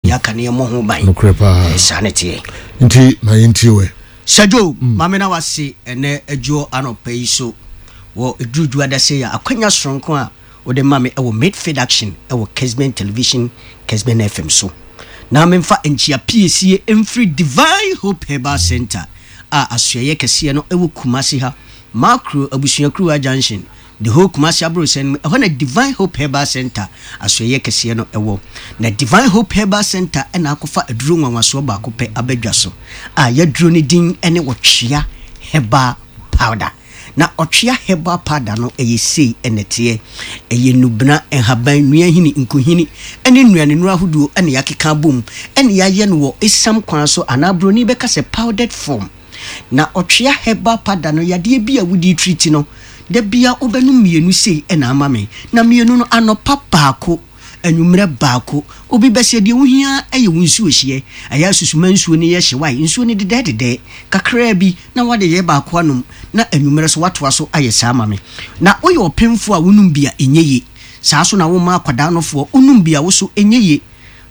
Yɛaka ne yɛmmɔ ho ban. Nokorɛ paa. Saa ne teɛ. Nti ma yɛntie wɛ. Sir Joe, ma me na wase ɛnɛ adwoɔ anɔpa yi so wɔ ɛduru adase yi a akwanya soronko a wode ma me ɛwɔ Midfield Action ɛwɔ Kesben Television, Kesben FM so. Na memfa nkyia piesie mfiri Divine Hope Herbal Center a asoɛeɛ kɛseɛ no ɛwɔ Kumasi ha, Makro Abusuakuruwa Junction, the whole Kumasi aborɔsan mu, ɛhɔ na Divine Hope Herbal Center asoɛeɛ kɛseɛ no ɛwɔ. Na Divine Hope Herbal Center ɛna akɔfa aduro nwanwasoɔ baako pɛ abadwa so a yɛaduro ne din ne Ɔtwea Herbal Powder. Na Ɔtwea Herbal Powder no ɛyɛ sei ɛna ɛteɛ. Ɛyɛ nnubena, nhaban, nnuahini, nkuhini ne nnuanennuro ahodoɔ ɛna yɛakeka abom ɛna yɛayɛ no wɔ esiam kwan so anaa buroni bɛka sɛ powdered form. Na Ɔtwea Herbal Powder no, yadeɛ bi a wodi treat no, da bia wobɛnom mmienu sei ɛna ama me. Na mmienu no, anɔpa baako, anwummerɛ baako. Obi bɛsɛ deɛ wohia ɛyɛ wo nsuo hyeɛ. Ɛyɛ asusuma nsuo no yɛ hye wae, nsuo no dedɛɛdedɛɛ kakraa bi na wade yɛ baako anom, na anwummerɛ so watoa so ayɛ saa ma me. Na woyɛ ɔpemfoɔ a wonom bi a ɛnyɛ yie. Saa so na woma akwadaa nofoɔ wonom bi a wo so ɛnyɛ yie.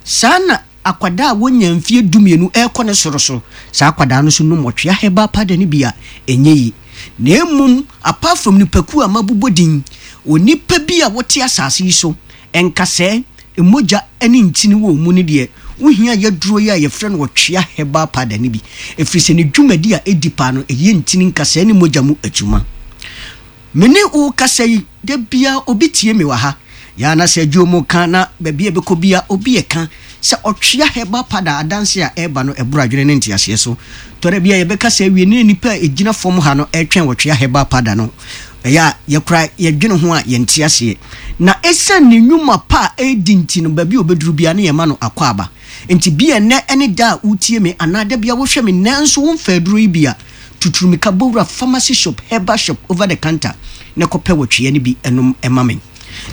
Saa na akwadaa a wonya mfie 12 ɛrekɔ ne soro so, saa akwadaa no so nom Ɔtwea Herbal Powder no bi a ɛnyɛ yie. Na mmom apart from nipakuo a mabobɔ din, onipa bi a wote asase yi so, nkasɛɛ, mogya ne ntini wɔ mu no deɛ, wohia yɛduro yi a yɛfrɛ no Ɔtwea Herbal Powder no bi. Ɛfiri sɛ ne dwumadi a ɛdi paa no, ɛyɛ ntini, nkasɛɛ ne mogya mu adwuma. Me ne wo kasa yi, da biara obi tie me wɔ ha. Yɛa na sɛ adwuo mu ka na baabi a ɛbɛkɔ bia obi ɛka sɛ Ɔtwea Herbal Powder adanse a ɛreba no ɛboro adwene ne nteaseɛ so. Tɔrɛ bi a yɛbɛka sɛ awie ne nnipa a ɛgyina fam ha no ɛretwɛn Ɔtwea Herbal Powder no, ɛyɛ a yɛkora yɛdwene ho a yɛnte aseɛ. Na ɛsiane ne nnwuma pa a ɛredi nti no, baabi a ɔbɛduru biara ne yɛma no akwaaba. Nti bi a ɛnnɛ ne da a wotie me anaa da bi a wohwɛ me nanso womfa aduro yi bi a, tuturumika bɔwura pharmacy shop, herbal shop, over the counter na kɔpɛ wɔtwea no bi nom ma me.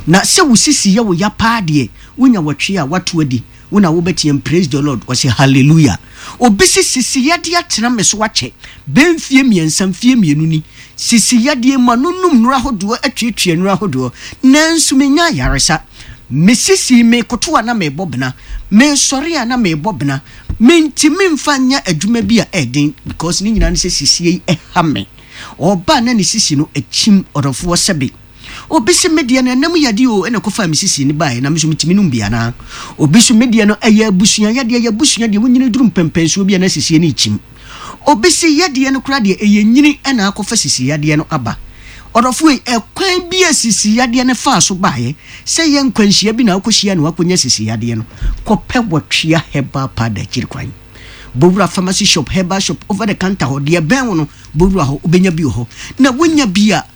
Na sɛ wo sisi yɛ wo ya paa deɛ, wonya wɔtwea a woato adi, wo na wobɛteam praise the Lord, wɔse hallelujah. Obi se sisi yadeɛ atena me so akyɛ bɛyɛ mfie 3, mfie 2 ni. Sisi yadeɛ mu a no nom nnuro ahodoɔ, atuatua nnuro ahodoɔ, nanso mennya ayaresa. Me sisi, mekoto a na merebɔ bena, mesɔre a na merebɔ bena. Mentumi mfa nyɛ adwuma bi a ɛyɛ den because ne nyinaa ne sɛ sisie yi ɛha me. Ɔba a na ne sisi no akyim, ɔdɔfoɔ sɛbe. Obi se me deɛ no ɛnam yadeɛ o ɛna ɛkɔfaa me sisi no baeɛ na me nso metumi nom bi anaa? Obi so me deɛ no ɛyɛ abusua yadeɛ, ɛyɛ abusua deɛ wonyini duru mpɛmpɛnsoɔ bi a na sisie no rekyim. Obi se yadeɛ no koraa deɛ ɛyɛ nyini ɛna akɔfa sisi yadeɛ no aba. Ɔdɔfoɔ yi, ɛkwan bi a sisi yadeɛ no faa so baeɛ, sɛ ɛyɛ nkwanhyia bi na wokɔhyia na woakɔnya sisi yadeɛ no, kɔpɛ Wɔtwea Herbal Powder akyiri kwan. Bɔwura pharmacy shop, herbal shop, over the counter hɔ, deɛ ɛbɛn wo no, bɔwura hɔ, wobɛnya bi wɔ hɔ. Na wonya bi a,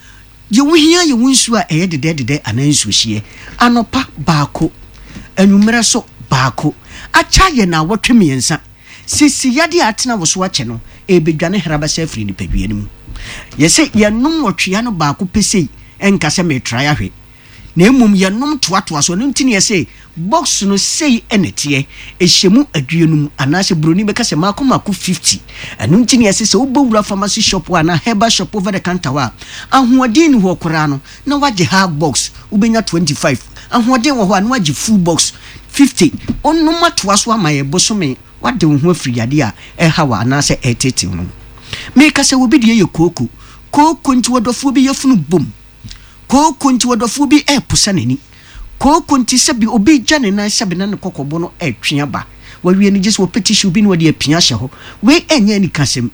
deɛ wohia yɛ wo nsuo a ɛyɛ dedɛɛdedɛ anaa nsuohyeɛ. Anɔpa baako, anwummerɛ so baako. Akyɛ ayɛ nnawɔtwe 3. Sisi yadeɛ a atena wo so akyɛ no, ɛrebɛdwane hrabasa afiri nipadua no mu. Yɛse yɛnom ɔtwea no baako pɛ sei, ɛnka sɛ meretrae ahwɛ, na mmom yɛnom toatoa so. Ɛno nti na yɛse box no sei na ɛteɛ, ɛhyɛ mu 50 anaasɛ buroni bɛka sɛ mako mako 50. Ɛno nti na yɛse sɛ wobɛwura pharmacy shop hɔ anaa herbal shop over the counter hɔ a, ahoɔden nni hɔ koraa no, na woagye half box, wobɛnya 25. Ahoɔden wɔ hɔ a, na woagye full box, 50. Wonom atoa so ama yɛ bosome, woade wo ho afiri yadeɛ a ɛreha wo anaasɛ ɛreteetee wo no ho. Meka sɛ obi deɛ yɛ kooko. Kooko nti ɔdɔfoɔ bi yafunu bom. Kooko nti ɔdɔfoɔ bi reposa n'ani. Kooko nti sɛbi obi regya ne nan sɛbi na ne kɔkɔbo no retwe aba. Wawie no gye sɛ ɔpɛ tissue bi na ɔde apia ahyɛ hɔ. Wei ɛnyɛ anikasɛm.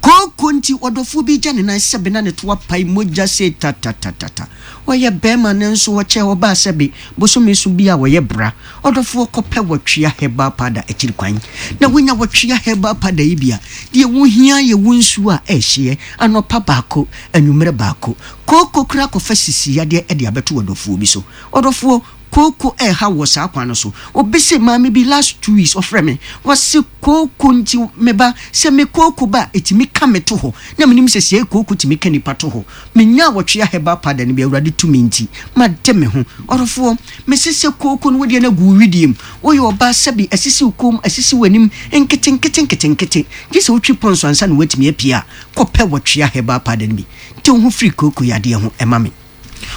Kooko nti ɔdɔfoɔ bi regya ne nan sɛbi na ne to apae mogya sei tatatata. Ɔyɛ barima nanso ɔkyɛ ɔbaa sɛbi bosome so bi a ɔyɛ bra. Ɔdɔfoɔ kɔpɛ Wɔtwea Herbal Powder akyiri kwan. Na wonya Wɔtwea Herbal Powder yi bi a, deɛ wohia yɛ wo nsuo a ɛrehyeɛ anɔpa baako, anwummerɛ baako. Kooko koraa kɔfa sisi yadeɛ de abɛto ɔdɔfoɔ bi so. Ɔdɔfoɔ, kooko ɛreha wo wɔ saa kwan no so. Obi se maame bi last 2 weeks ɔfrɛ me, wɔse kooko nti me ba, sɛ me kooko ba a, ɛtumi ka me to hɔ. Na menim sɛ sei kooko tumi ka nipa to hɔ. Menyaa Wɔtwea Herbal Powder no bi, Awurade tumi nti, made me ho. Ɔdɔfoɔ, mese sɛ kooko no wodeɛ no agu wo wedeɛ mu. Woyɛ ɔbaa sɛbe asisi wo kɔn mu, asisi w'anim nketenkete nketenkete. Gye sɛ wotwi pɔnso ansa na woatumi apue a, kɔpɛ Wɔtwea Herbal Powder no bi. Te wo ho firi kooko yadeɛ ho ma me.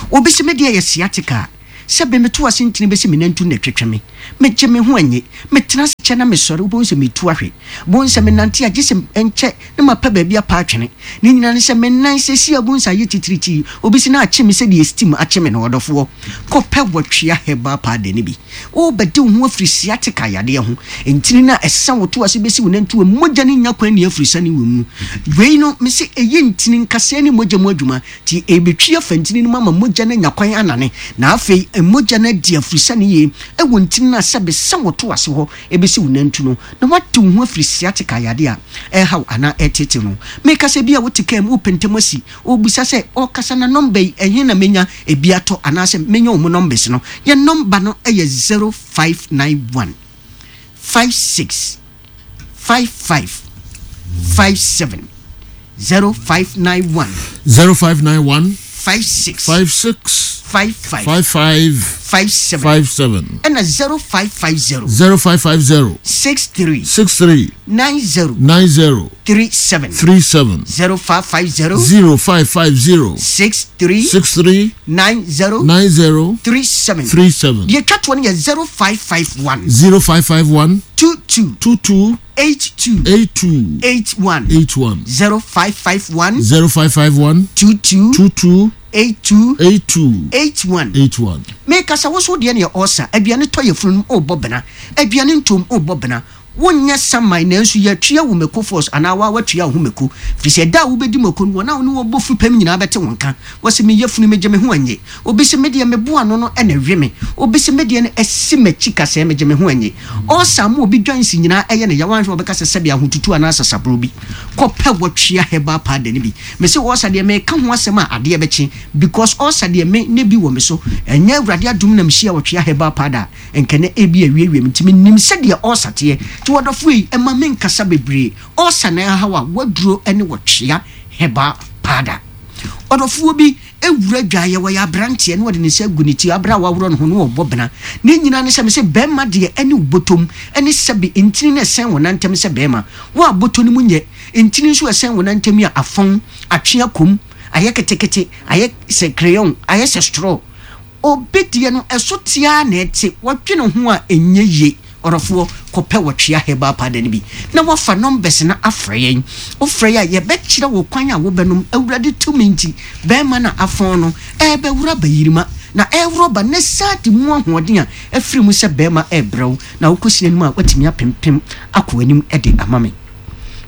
Obi se me deɛ yɛ sciatica. Sɛbe meto ase ntini bɛsi me nantu na ɛtwetwe me. Megye me ho nnye. Metena ase kyɛ na mesɔre, wobɛhu sɛ metu ahwe. Bohu sɛ menante a, gye sɛ ɛnkyɛ na mapɛ baabi apa atwene. Ne nyinaa ne sɛ me nan seesei a wobɛhu sɛ ayɛ titiritii. Obi se na akye me sɛdeɛ steam akye me no. Ɔdɔfoɔ, kɔpɛ wɔtwea herbal powder no bi. Worebɛde wo ho afiri sciatica yadeɛ ho. Ntini no a ɛsa wo to ase bɛsi wo nantu a mogya no nnya kwan nni afiri sane wɔ mu no. Wei no, mese ɛyɛ ntini nkasɛɛ ne mogya mu adwuma. Nti ɛrebɛtwi afa ntini no mu ama mogya no anya kwan anane, na afei mogya no adi afiri sane yie wɔ ntini no a sɛbe sɛ wo to ase hɔ bɛsi wo nantu no, na woate wo ho afiri sciatica yadeɛ a ɛreha wo anaa ɛreteetee no. Meka sɛ ebia wote kaa mu wopɛ ntɛm asi, wobisa sɛ, ɔrekasa na nɔmba yi, ɛhe na mɛnya ebi atɔ anaasɛ mɛnya wɔn nɔmbes no? Yɛn nɔmba no yɛ 0591 56 55 57 0591. 0591. 56. 56. 55. 55. 57. 57. Ɛna 0550. 0550. 63. 63. 90. 90. 37. 37. 0550. 0550. 63. 63. 90. 90. 37. 37. Deɛ ɛtwa toɔ no yɛ 0551. 0551. 22. 22. 82. 82. 81. 81. 0551. 0551. 22. 22. 82. 82. 81. 81. Mekasa wo so deɛ ne yɛ ɔsa aduane tɔ yɛ funu no ɔrebɔ bena aduane ntom ɔrebɔ bena wonyɛ saman nanso yɛatua wo mako force anaa waa watua wo ho mako firi sɛ da a wobɛdi mako no wɔn a wo ne wɔn bɔ fipam nyinaa bɛte wo nka wɔse me yafunu megye me ho annye obi se medeɛ mebo ano no na ɛwe me obi se medeɛ no asi m'akyi kasɛɛ megye me ho annye ɔsa ma obi dwansi nyinaa ɛyɛ ne ya wanhwɛ wɔbɛka sɛ sɛbe ahotutu anaa sasaborɔ bi kɔpɛ wɔtwea herbal powder no bi mese ɔsa deɛ meka ho asɛm a adeɛ bɛkye because ɔsa deɛ me ne bi wɔ me so ɛnyɛ Awurade adom na mehyia wɔtwea herbal powder a nka na ebi awiewie me nti menim sɛdeɛ ɔsa teɛ nti wɔdɔfoɔ yi ɛma menkasa bebree ɔsa na ɛhaw a waduro ne wɔtwea herbal powder ɔdɔfoɔ bi ewura dwaeɛ wɔyɛ aberanteɛ na wɔde ne nsa agu ne ti abere a waworɔ ne ho na wɔbɔ bena ne nyinaa ne sɛ me sɛ bɛrima deɛ ɛne wo bɔtɔm ɛne sɛbe ntini na ɛsɛn wɔn nantam sɛ bɛrima wo a bɔtɔ no mu nyɛ ntini nso ɛsɛn wɔn nantam yi a afɔn atwe akɔm ayɛ ketekete ayɛ sɛ crayon ayɛ sɛ straw Obi deɛ no ɛso te ara na ɛte, wɔdwene ho a ɛnyɛ yie. Ɔdɔfoɔ, kɔpɛ Wɔtwea Herbal Powder no bi na woafa numbers no afrɛ yɛn. Wofrɛ yɛn a, yɛbɛkyerɛ wo kwan a wobɛnom. Awurade tumi nti, barima no a afɔn no rebɛworo aba yirima, na ɛreworɔ ba na saa de mu ahoɔden a afiri mu sɛ barima rebrɛ wo, na wokɔsi n'anim a, woatumi apempem akɔ anim de ama me.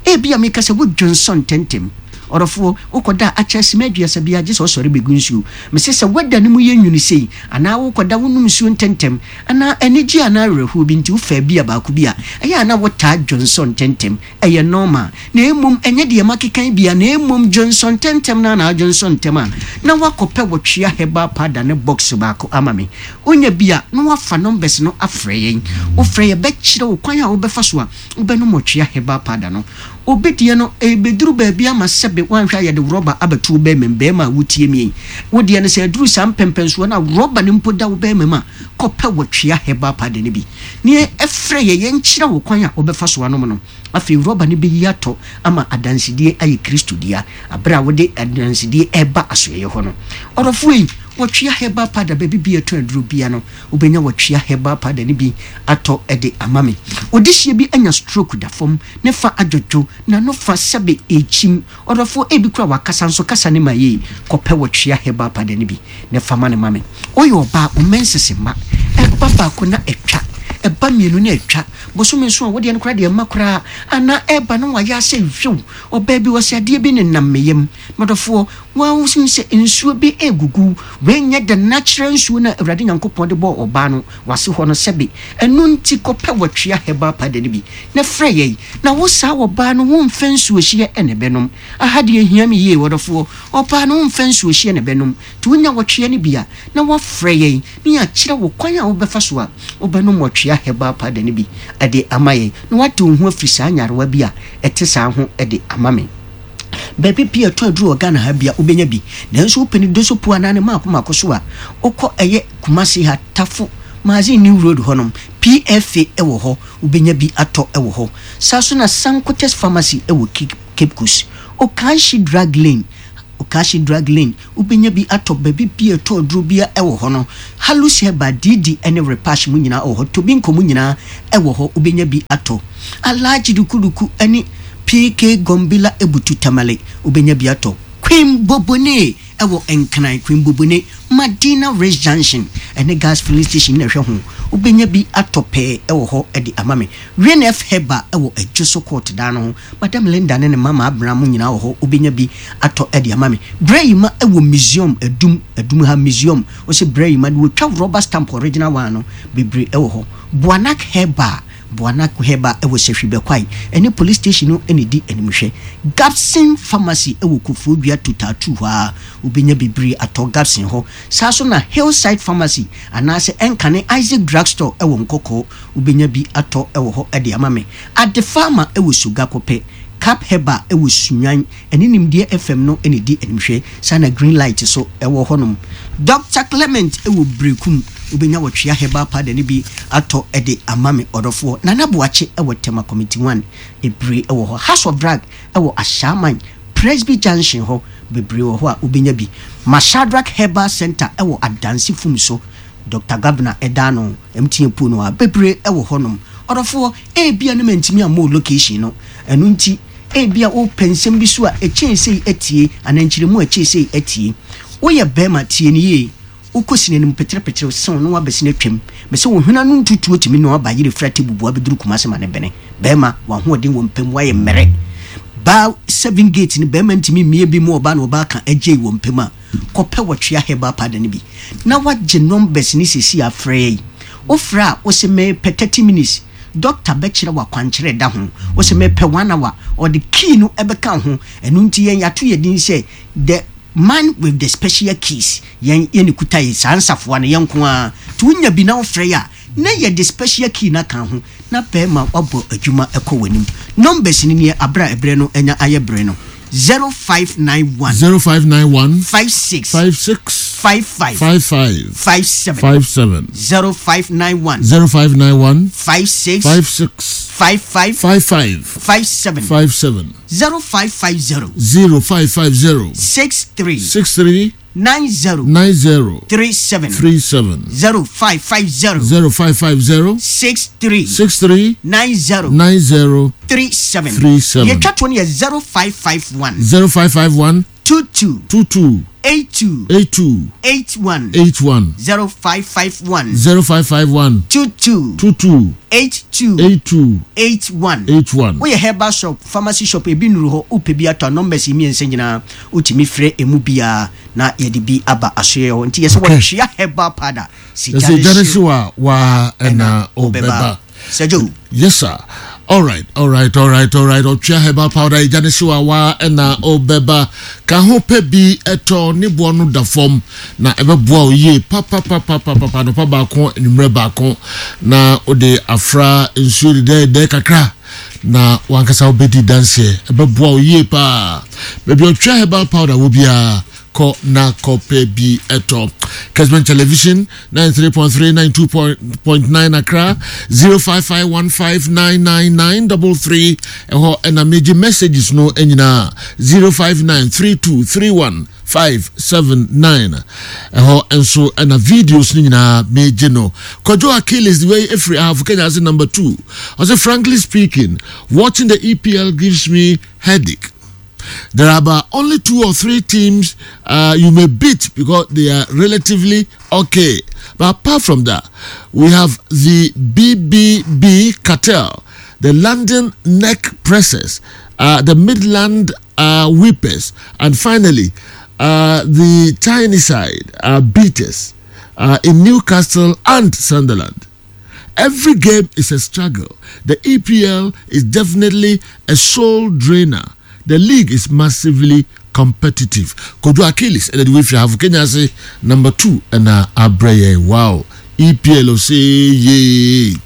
Ebia meka sɛ wodwonsɔ ntɛmntɛm. Ɔdɔfoɔ, wokɔda a akyɛ simma aduasa biara gye sɛ wosɔre bɛgu nsuo. Mese sɛ woada no mu yɛ nwunu sei, anaa wokɔda wonom nsuo ntɛmntɛm, anaa anigyeɛ anaa awerɛhoɔ bi nti wofaa bia baako bi a, ɛyɛ a na wotaa dwonsɔ ntɛmntɛm. Ɛyɛ normal. Na mmom ɛnyɛ deɛ makeka yi bia, na mmom dwonsɔ ntɛmntɛm no ara na adwonsɔ ntɛm a, na woakɔpɛ wɔtwea herbal powder no box baako ama me. Wonya bi a, na woafa numbers no afrɛ yɛn. Wofrɛ yɛn bɛkyerɛ wo kwan a wobɛfa so a Wobɛnom ɔtwea herbal powder no. Obi deɛ no, ɛrebɛduru baabi ama sɛbe woanhwɛ a yɛde rɔba abɛto wo bɛrima mu. Bɛrima a wotie me yi, wo deɛ no sɛ aduru saa mpɛmpɛnsoɔ no a rɔba no mpo da wo bɛrima mu a, kɔpɛ ɔtwea herbal powder no bi na frɛ yɛn yɛnkyerɛ wo kwan a wobɛfa so anom no. Afei rɔba no bɛyi atɔ ama adansedie ayɛ Kristo dea berɛ a wode adansedie reba asoɛeɛ hɔ no. Ɔdɔfoɔ yi, ɔtwea herbal powder baabi biara ɛtɔn aduro biara no, Wobɛnya watwea herbal powder no bi atɔ de ama me. Odehyeɛ bi anya stroke da fam, ne fa adwodwo, n'ano fa sɛbe ɛrekyim. Ɔdɔfoɔ, ebi koraa wakasa nso kasa no ma yie. Kɔpɛ watwea herbal powder no bi na fa ma no ma me. Woyɛ ɔbaa, wo menses mma. Ɛba baako na atwa, ɛba mmienu na atwa. Bosome nson a, wo deɛ no koraa deɛ ɛmma koraa. Anaa ɛreba na wayɛ asɛ hwiw. Ɔbaa bi, ɔse adeɛ bi nenam me yam. M'adɔfoɔ, woahu sɛ nsuo bi regugu, wei nyɛ the natural nsuo no a Awurade Nyankopɔn de bɔɔ ɔbaa no w'ase hɔ no sɛbe, ɛno nti kɔpɛ watwea herbal powder no bi na frɛ yɛn, na wo saa ɔbaa no wo mfa nsuohyeɛ na ɛbɛnom, aha deɛ ɛhia me yie ɔdɔfoɔ, ɔbaa no wo mfa nsuohyeɛ na ɛbɛnom, nti wonya watwea no bi a na woafrɛ yɛn na yɛakyerɛ wo kwan a wobɛfa so a wobɛnom watwea herbal powder no bi de ama yɛn na woate wo ho afiri saa nyarewa bi a ɛte saa ho de ama me. Baabi pii a ɛtɔ aduru wɔ Ghana ha bia wobɛnya bi. Nanso wopɛ no dosopuo anaa ne mmaako mmaako so a, wokɔ ɛyɛ Kumasi ha, Tafo, Magazine New Road hɔnom, PFA wɔ hɔ, wobɛnya bi atɔ wɔ hɔ. Saa nso na Sankotes Pharmacy wɔ Cape Coast, Okaanshi Drug Lane, Okashi Drug Lane, wobɛnya bi atɔ baabi biara a ɛtɔ aduro biara wɔ hɔ no. Halus Herbal, Didi ne Repash mu nyinaa wɔ hɔ. Tobinco mu nyinaa wɔ hɔ, wobɛnya bi atɔ. Alhaji Dukuduku ne PK Gombila Ebutu Tamale, wobɛnya bi atɔ. Queen Bobone wɔ Nkran, Queen Bobone, Madina Race Junction ne Gas Filling Station na ɛhwɛ ho. Wobɛnya bi atɔ pɛɛ wɔ hɔ de ama me. Renef Herbal wɔ Adwoso Court dan no ho. Madam Linda ne ne mma Maabena mo nyinaa wɔ hɔ, wobɛnya bi atɔ de ama me. Brɛyima wɔ Museum, Adum, Adum ha, Museum. Wose Brɛyima de wɔtwa rubber stamp original one no bebree wɔ hɔ. Boanak Herbal, Boanak Herbal wɔ Sahwi Bɛkwae ɛne Police Station no na ɛdi animhwɛ. Gabson Pharmacy wɔ Koforidua Total 2 hɔ ara, wobɛnya bebree atɔ Gabson hɔ. Saa nso na Hillside Pharmacy anaasɛ ɛnkane Isaac Drugstore wɔ Nkɔkɔɔ, wobɛnya bi atɔ wɔ hɔ de ama me. Adefama wɔ Sogakɔpɛ, Cap Herbal wɔ Sunyani, ɛne Nimdeɛ FM no na ɛdi animhwɛ. Saa na Green Light nso wɔ hɔnom. Doctor Clement wɔ Berekum, wobɛnya Wɔtwea Herbal Powder no bi atɔ de ama me ɔdɔfoɔ. Nana Boakye wɔ Tema Committee One, bebree wɔ hɔ. House of Drug wɔ Ashaiman, Presby Junction hɔ, bebree wɔ hɔ a wobɛnya bi. Mashadrack Herbal Centre wɔ Adansi Fum so, Doctor Gabna da ano, MTN pool no a, bebree wɔ hɔnom. Ɔdɔfoɔ, ebia na mantumi ammɔ wo location no, ɛno nti ebia wopɛ nsɛm bi so a ɛkyɛn sei atie anaa nkyerɛmu a ɛkyɛn sei atie. Woyɛ barima, tie no yie. Wokɔ sini no mu peterepetere sew na woabɛsene atwam. Mese wo hwene ano ntutuo tumi noa bayerɛ firi Atebubu abɛduru Kumase ma no bene. Barima, w'ahoɔden wɔ mpa mu, woayɛ mmerɛ. Baa seven gate no, barima ntumi mmie bi mu ɔbaa na ɔbaa ka agyei wɔ mpa mu a, kɔpɛ wɔtwea herbal powder no bi na wagye numbers no sɛsi a frɛ yi. Wofrɛ a wose mepɛ 30 minutes, doctor bɛkyerɛ wo akwankyerɛ ɛda ho. Wose mepɛ one hour, ɔde key no bɛka ho. Ɛno nti yɛn yɛato yɛn din sɛ the man with the special keys. Yɛn yɛn kuta yɛ saa nsafoa no yɛn nko ara. Nti wonya bi na wofrɛ yɛ a na yɛde special key no aka ho na bɛrima wabɔ adwuma kɔ w'anim. Numbers no nie aberɛ a ɛberɛ no anya ayɛ berɛ no, 0591. 0591. 56. 56. 55. 55. 57. 57. 0591. 0591. 56. 56. 55. 55. 57. 57. 0550. 0550. 63. 63. 90. 90. 37. 37. 0550. 0550. 63. 63. 90. 90. 37. 37. Deɛ ɛtwa toɔ no yɛ 0551. 0551. 22. 22. 82. 82. 81. 81. 0551. 0551. 22. 22. 82. 82. 81. 81. Woyɛ herbal shop, pharmacy shop, ebi nnuru hɔ, wopɛ bi atɔ a, numbers yi mmiɛnsa nyinaa wotumi frɛ emu biara na yɛde bi aba asoɛeɛ hɔ. Nti yɛsɛ wɔtwea herbal powder. Si gya ne hyew a waa ɛna ɔbɛba. Sir Joe. Yes sir. All right, all right, all right, all right. Ɔtwea herbal powder gya ne hyew a waa ɛna ɔbɛba. Ka ho pɛ bi ɛtɔ ne boɔ no da fam na ɛbɛboa wo yie papapapapapa anɔpa baako anwummerɛ baako na wode afra nsuo dedɛɛdɛɛ kakra na wankasa wobɛdi danseɛ ɛbɛboa wo yie paa baabi ɔtwea herbal powder wɔ biara kɔ na kɔpɛ bi ɛtɔ Kesben Television 93.3 92.9 Accra 0551599933 ɛhɔ ɛna megye messages no nyinaa 0593231579 ɛhɔ nso ɛna videos no nyinaa megye no Kwadwo Achilles wei ɛfiri Ahafo Kenya ase number 2 ɔsɛ frankly speaking watching the EPL gives me headache. There are about only two or three teams uh, you may beat because they are relatively okay. But apart from that, we have the BBB cartel, the London Neck Pressers, uh, the Midland uh, Whippers, and finally, uh, the Tyneside uh, Beaters uh, in Newcastle and Sunderland. Every game is a struggle. The EPL is definitely a soul drainer. The league is massively competitive. Kojo Achilles ɛna de wefiri ahafo Kenya ase number two ɛna abrɛ yɛn. Wow! EPL ose yee.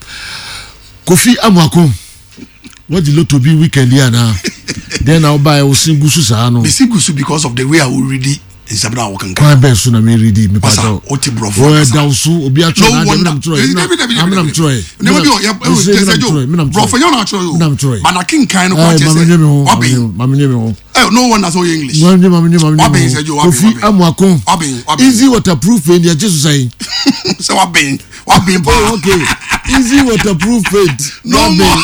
Kofi Amoako, wadi lotto bi weekend yi anaa? Dɛn na wobaeɛ wo se gu so saa no? Mesi gu so because of the way a wo ready. Nsɛm no a wokenkan. Kwan bɛn so na me redi me Masa, pakyɛw? wote borɔfo Wɔ ankasa. ɛda wo so obi atwerɛ No n'adeɛ wonder. menam twerɛ Dabi, dabi, dabi, menam dabi. twerɛ Nneɛma bi wɔ yɛ ɛwɔ Mese kyɛ sɛ menam Joe. twerɛ menam Borɔfo twerɛ nyɛ na atwerɛ menam o. twerɛ. Ba na kenkan no kora Ɛɛ kyerɛ maame sɛ nye me ho wabɛn. maame nye me ho. Eh, no wonder sɛ ɔyɛ English. Maame nye maame nye maame nye Wabɛn me sɛ Joe ho. wabɛn Kofi wabɛn. Amuako. Wabɛn wabɛn. Easy waterproof paint yɛ gye so sɛn? Sɛ wabɛn wabɛn paa. Oh okay easy waterproof paint. No more.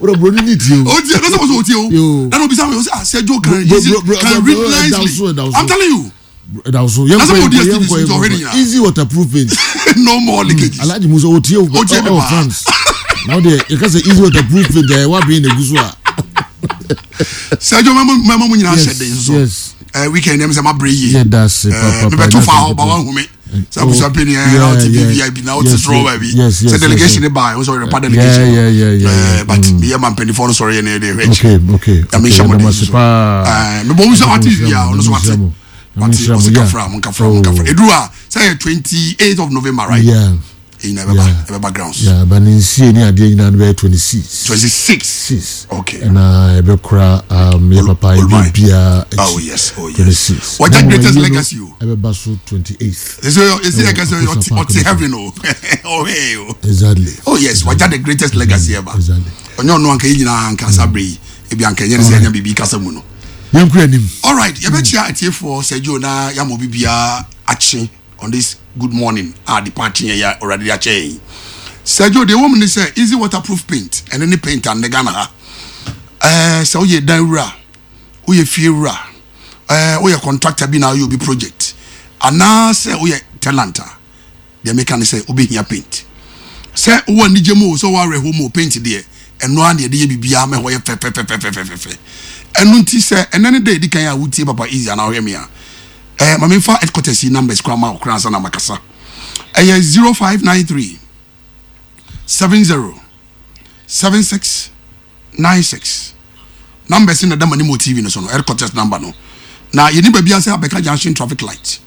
Wọ́n buroni ní tie o. O tie, lọ́sọ̀ wọ́sọ̀ o tie o. Yo. Nana obisa mi, o sẹ, ah, sẹ Joe can Bro, easy, bro, bro, can bro, read bro, nicely. ɛda so, ɛda so. I'm telling you. Ɛda so yɛn That's kɔ what yɛn kɔ DSTV yɛn kɔ so yɛn already kɔ nyinaa. easy waterproof paint. No more leakages. Alhaji Musa o tie o O tie mi ɛwɔ paa. France. Na o deɛ yɛ ka sɛ easy waterproof paint ɛyɛ wa bɛn na egu so a. Sɛ Joe mɛma mɛma mu nyinaa Yes, hyɛ den so. yes. Eh, weekend ɛm sɛ ma brɛ yie. Yɛ da ase Eh, paapaa. mebɛto fa hɔ ba wahu me. Sɛ abusua panyin ɛ na ɔte VVIP na ɔte soro baabi. Sɛ delegation ne ba, ɔsɔ yɛrɛ pa delegation. Yeah, yeah, yeah, yeah. Eh, but meyɛ ma mpanimfoɔ no sɔrɔ yɛ na yɛde hwɛ akyi. Okay, okay. Nyame okay, nhyɛ mo yɛda den mo ase so. paa. Eh, mebɔ mu sɛ wate Nyame wie a nhyira mo, ɔno so Nyame wate. nhyira mo. Nyame Wate nhyira mo, ɔsɛ yeah. kafra mo nkafra mo nkafra. Oh. Eduru a sɛ yɛ 28th of November right? Yeah. Eyi na ɛbɛba Yeah. ɛbɛba grounds. Yeah, but ne nsie ne adeɛ nyinaa no bɛyɛ 26. 26. Six. Okay. Ɛna ɛbɛkora um, yɛ papa Olumai. yɛ biara akyi. Oh yes, oh yes. 26. Wagya Na greatest wɔayi no legacy o. Ɛbɛba so 28th. Ɛsɛ ɛsɛ yɛ kɛsɛ Ɛwɔ ɔte Akosa Park ɔte no so. heaven o. Ɔhɛ o. Exactly. Oh yes, wagya the greatest legacy ever. Exactly. Ɔnyɛ ɔno anka yɛ nyinaa anka saa bere yi ebi anka ɛnyɛ ne sɛ yɛnya biribi kasa mu no. Yɛnkɔ anim. All right, yɛbɛkyia atiefoɔ sɛ Joe na yɛama obi biara akye on this good morning a de pa akye yɛn yɛ Awurade de akyɛ yɛn yi. Sɛ Joe deɛ ɛwɔ mu ne sɛ easy waterproof paint ɛne ne paint a nnɛ Ghana ha. Ɛɛ sɛ woyɛ dan wura, woyɛ fie wura, ɛɛ woyɛ contractor bi na woyɛ obi project anaasɛ woyɛ tenant a deɛ meka ne sɛ wobɛhia paint. Sɛ wowɔ anigye mu o, sɛ wowɔ awerɛhoɔ mu o, paint deɛ ɛno ara na yɛde yɛ biribiara ma ɛhɔ yɛ fɛfɛfɛfɛfɛfɛ. Ɛno nti sɛ ɛnɛ ne da ɛdi kan a wotie Papa Easy anaa wohwɛ me a, eh, ma memfa headquarters yi numbers koraa ma wo koraa ansa na makasa. Ɛyɛ 0593 70 76 96. Numbers no na ɛda m'anim wɔ TV no so no, headquarters number no. Na yɛni baabi sɛ abɛka junction traffic light.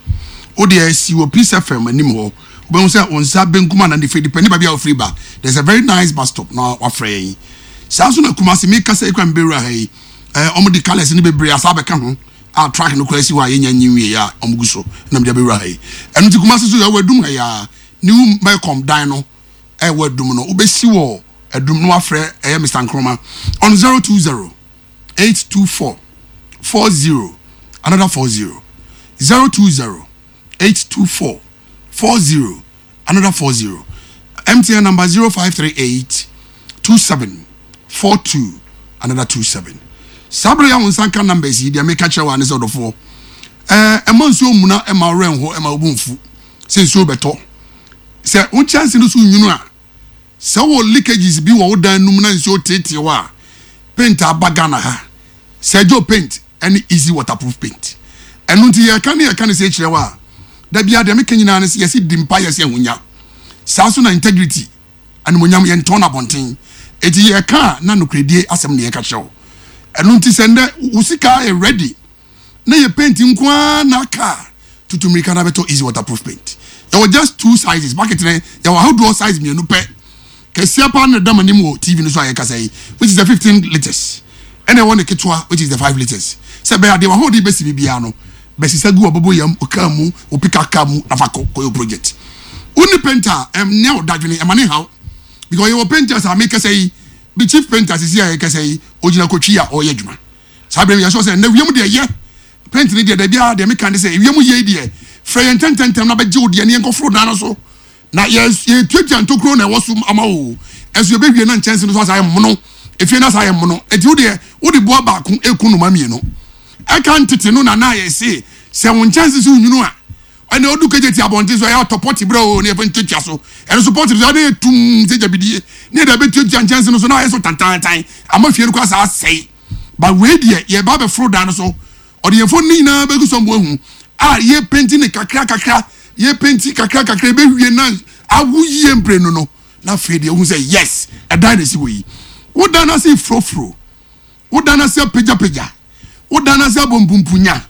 Wo deɛ si wɔ Peace FM anim hɔ. Wobɛhu sɛ wo nsa benkum anaa nifa depending baabi a wofiri ba. There's a very nice bus stop na wafrɛ yɛn. Saa nso na Kumasi mekasa yi koraa mebɛwura ha yi. Eh, wɔn de colours no bebree asa abɛka ho a truck no koraa si hɔ a yɛnya nyi nwie a wɔn gu so na mede abɛwura ha yi. Ɛno nti Kumasi so yɛwɔ adum ha yi a New Melcom dan no ɛwɔ adum no wobɛsi wɔ adum no wafrɛ ɛyɛ Mr Nkrumah on 020 824 40 another 40 020 824 40 another 40 MTN number 0538 27 42 another 27 saa bere yi a wo nsa nka numbers yi deɛ meka kyerɛ wo a ne sɛ ɔdɔfoɔ ɛɛ ɛma nsuo mmuna ɛma wo werɛ nho ɛma wo bo mfu sɛ nsuo bɛtɔ sɛ wo nkyɛnse no so nwunu a sɛ wɔ leakages bi wɔ wo dan no mu na nsuo teetee hɔ a paint aba Ghana ha Sergio paint ɛne easy waterproof paint ɛno nti yɛka ne yɛka ne sɛ kyerɛ wo a da biara deɛ meka nyinaa ne sɛ yɛse di mpa yɛse ahonya saa so na integrity animonyam yɛntɔn no abɔnten eti yɛka a na nokorɛdie asɛm na yɛka kyerɛ wo ɛno nti sɛ ndɛ wo sika yɛ ready na yɛ paint nko ara na aka a tutu mmirika na bɛtɔ easy waterproof paint yɛwɔ just two sizes bucket no yɛwɔ ahodoɔ size mmienu pɛ kɛseɛ paa na ɛda m'anim wɔ tv no so a yɛkasa yi which is the 15 litres ɛna ɛwɔ ne ketewa which is the 5 litres sɛ bɛyɛ adeɛ wahoɔden bɛsi biribiara no bɛsesa gu ɔbɛbɔ yam ɔkaa mu ɔpika kaa mu na fa kɔ kɔyɛ project wonni paint a ɛnyɛ wo dadwene ɛma ne haw because yɛwɔ painters a mekasa yi bi chief painter sisi a yɛkasa yi ogyina kotwi a ɔreyɛ adwuma saa bere no yɛsɔ sɛ nnɛ wiem deɛ yɛ paint no deɛ dabi ara deɛ meka ne sɛ ewiem yie deɛ frɛ yɛn ntɛntɛntɛm na bɛgye wo deɛ ne yɛnkɔforo dan no so na yɛ yɛtuatua ntokuro na ɛwɔ so ama wo ɛso yɛbɛwie na nkyɛnse no so asa ayɛ mmono efie no asa ayɛ mmono eti wo deɛ wode boa baako eku noma mmienu ɛka ntete no na na yɛse sɛ wo nkyɛnse so nwunu a ɛna odu kegye ti abɔnten so ɛyɛ atɔ pɔte brɛ o ne yɛfɛ ntuatua so ɛno so pɔte so ɛna etum sɛ gyabidie ne yɛde abɛtuatua nkyɛnse no so na ayɛ so tantantan ama fie no kɔ asa asɛe ba wei deɛ yɛba abɛforo dan no so ɔde yɛn fon ne nyinaa bɛgu so mboa hu a yɛ penti ne kakra kakra yɛ penti kakra kakra ɛbɛwie na awo yie mprenu no na afei deɛ wohu sɛ yes ɛdan na ɛsi hɔ yi wo dan no ase furofuro wo dan no ase apagyapagya wo dan no ase abɔ mpumpunya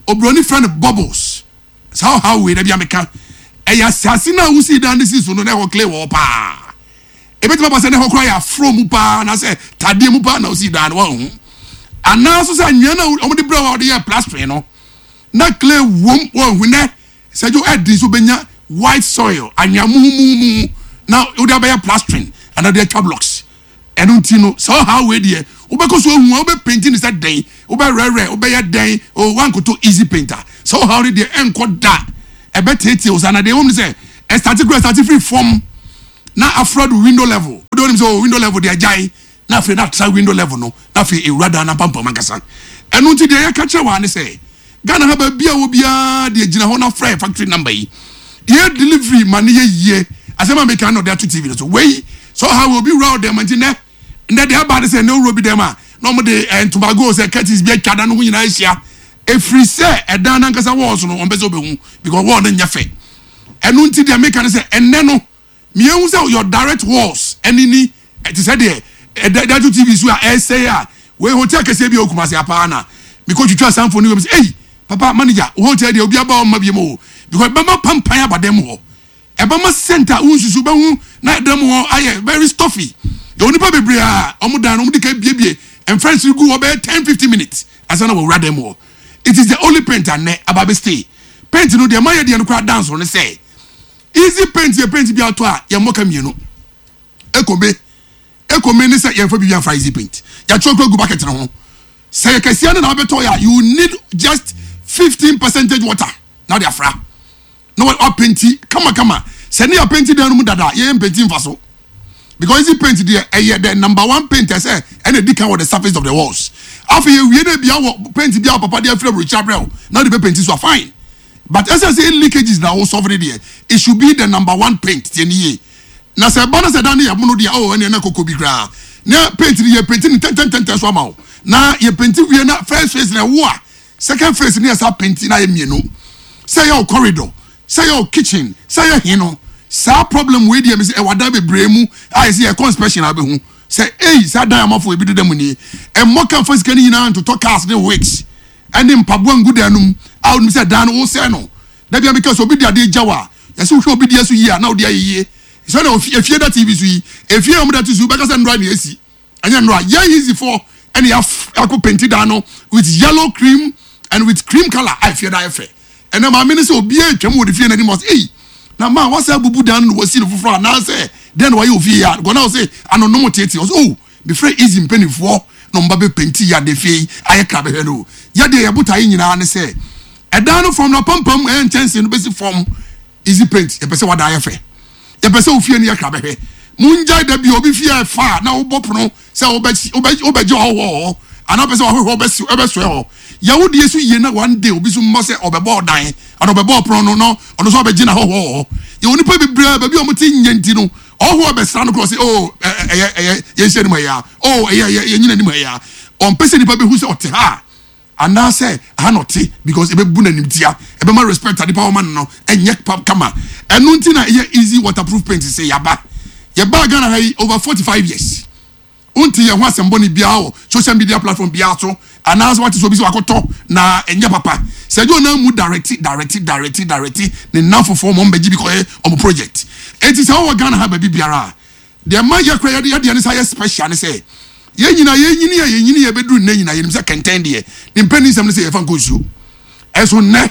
oburoni frɛ no bubbles saa ɔhaw wei da bi a meka ɛyɛ asase no a wosii dan no sii so no na ɛhɔ clay wɔ hɔ paa ebetumi aba sɛ ne hɔ koraa yɛ afro mu paa anaasɛ tadeɛ mu paa na osii dan no wɔn ho Anaa nso sɛ anwea no a wɔde brɛ wo a wɔde yɛɛ plastering no, na clay wom wɔ nɛ sɛ dwo ɛden so bɛnya white soil anwea muhumuhumuhu na wode abɛyɛ plastering anaa wode atwa blocks. Ɛno nti no sɛ ɔhaw wei deɛ wobɛkɔ so ahu a wobɛpenti ne sɛ dɛn wobɛwerɛwerɛ wobɛyɛ dɛn o woankoto easy paint a sɛ ɔhaw no deɛ ɛnkɔ da ɛbɛteetee wo saa na deɛ ɛwom ne sɛ ɛstate kura ɛstate firi fam na afra do window level wode wonim sɛ o window level deɛ agyae na afei na atra window level no na afei ewura dan no apampam ankasa. Ɛno nti deɛ yɛka kyerɛ wo ara ne sɛ Ghana ha baabi a wɔ biara deɛ gyina hɔ na frɛ factory number yi. Yɛ delivery ma no yɛ yie. Asɛm a meka na ɔde ato TV no so. Wei sɛ ɔha wei obi wura wo dɛm nti nɛ ndɛ deɛ aba ne sɛ nɛ owura obi dɛm a na wɔn de eh, ntomago sɛ curtains bi atwa dan no ho nyinaa ahyia. Ɛfiri sɛ ɛdan no ankasa walls no wɔn pɛ sɛ wɔbɛhu because wall no nyɛ fɛ. Ɛno nti deɛ meka ne sɛ ɛnɛ no Miehu sɛ your direct walls ɛne ni ɛte sɛ deɛ ɛda ɛda to TV so a ɛresɛe a wei hotel kɛseɛ bi a ɛwɔ Kumasi apaa na mekɔ twitwa saa mfoni wei sɛ ei papa manager wo hotel deɛ obi aba ɔmma bi mu o because ɛbɛma pampan aba dan mu hɔ ɛbɛma scent a wonsusu bɛhu na dan mu hɔ ayɛ very stuffy yɛwɔ nipa bebree a wɔn dan no wɔn de ka biebie mfɛnsere gu hɔ bɛyɛ 10 15 minutes ansa na wɔwura dan mu hɔ it is the only paint a nnɛ aba bɛ stay paint no deɛ mayɛ deɛ no koraa dance no sɛ Easy paint yɛ paint bi atɔ a yɛmmɔ ka mmienu. Ekome ekome ne sɛ yɛmfa biribi amfa easy paint. Yɛatwerɛ kura gu bucket no ho. Sɛ yɛ kɛseɛ no na wabɛtɔ yɛ a you need just 15 percentage water na wode afra na wapenti kamakama. Sɛ ne yɛapenti dan no mu dada a yɛyɛ mpenti mfa so. Because easy paint deɛ ɛyɛ the number one paint ɛsɛ ɛna edi kan wɔ the surface of the walls. Afei yɛwie na ebia wɔ paint bi a papa de afiri aburokyire abrɛ wo na wode bɛ paint so a fine. But ɛsɛ sɛ leakages na wo solve ne deɛ it should be the number one paint tie ne yie na sɛ ɛba na sɛ dan no yɛ mono deɛ oh ɛneɛ na koko bi koraa na paint no yɛ paint no ntɛntɛntɛntɛn so ama wo na yɛ paint wie na first phase na ɛwo a second phase no yɛ saa paint na ayɛ mmienu sɛ yɛ wo corridor sɛ yɛ wo kitchen sɛ yɛ he no saa problem wei deɛ mesɛ ɛwɔ adan bebree mu a yɛsɛ yɛkɔ inspection a wobɛhu sɛ ei saa dan amafo ebi deda mu nie ɛmmɔ ka mfa sika no nyinaa ntotɔ cars ne wigs ne mpaboa ngu dan no mu a wonim sɛ dan no wosɛe no. Da biara meka sɛ obi de adeɛ gya wo a, yɛsɛ wohwɛ obi deɛ so yie a na wode ayɛ yie. Sɛ na efie da TV so yi, efie a wɔda ti so bɛka sɛ nnora na esi. Ɛnyɛ nnora. Yɛn Hizifoɔ ɛna yɛakɔ penti dan no with yellow cream and with cream color a efie da ayɛ fɛ. Ɛnɛ maame no sɛ obiara atwam wɔ ne fie n'anim ɔsɛ ei na maa wasa abubu dan no na wasi no foforɔ anaasɛ dɛn na wayɛ ofie yi a gɔna ɔsɛ anonom tete ɔsɛ oh Mefrɛ Easy mpaninfoɔ na wɔn ba bɛ penti yɛ fie yi ayɛ kra bɛhwɛ no o. Yɛ deɛ yɛ botaeɛ nyinaa ne sɛ ɛdan no fam no apampam ɛyɛ nkyɛnsee no bɛsi fam Easy paint yɛpɛ sɛ wadan ayɛ fɛ. Yɛpɛ sɛ ofie no yɛ kra bɛhwɛ. Mongyae da bi obi fie ɛfa a na wobɔ pono sɛ wobɛgye ɔhɔhoɔ wɔ hɔ anaa wopɛ sɛ ɔhɔhoɔ bɛsoɛ hɔ. Yɛ wo deɛ so yie na one day obi so mmɔ sɛ ɔbɛbɔ ɔdan anaa ɔbɛbɔ ɔpono no na ɔno nso abɛgye n'ahɔhoɔ wɔ hɔ. Yɛwɔ nnipa bebree a baabi a wɔte nyɛ nti no Ɔhɔ a bɛsra no korɔ ɔse oh ɛyɛ ɛyɛ yɛnhyia anim ha yi a oh ɛyɛ ɛyɛ yɛnyina anim ha yi a ɔmpɛ sɛ nipa bɛhu sɛ ɔte ha a anaasɛ aha na ɔte because ɛbɛbu no animtia ɛbɛma respect a nipa wɔma no no ɛnyɛ pa kama ɛno nti na ɛyɛ easy waterproof paint sɛ yaba yɛbaa Ghana ha yi over 45 years Wonte yɛn ho asɛm bɔne biara wɔ social media platform biara so anaasɛ wate sɛ obi sɛ wakɔtɔ na ɛnyɛ papa. Sɛ ɛgye ɔnan mu direct direct direct direct ne nnamfofoɔ ma ɔmbɛgye bi kɔyɛ ɔmo project. Enti sɛ wowɔ Ghana ha baabi biara a, deɛ ɛma yɛ koraa yɛde yɛdeɛ no san yɛ special ne sɛ yɛn nyinaa yɛnyini a yɛnyini a ɛbɛduru nnɛ nyinaa yɛnim sɛ kɛntɛn deɛ ne mpanin nsɛm ne sɛ yɛfa nkɔ nsuo. Ɛnso nnɛ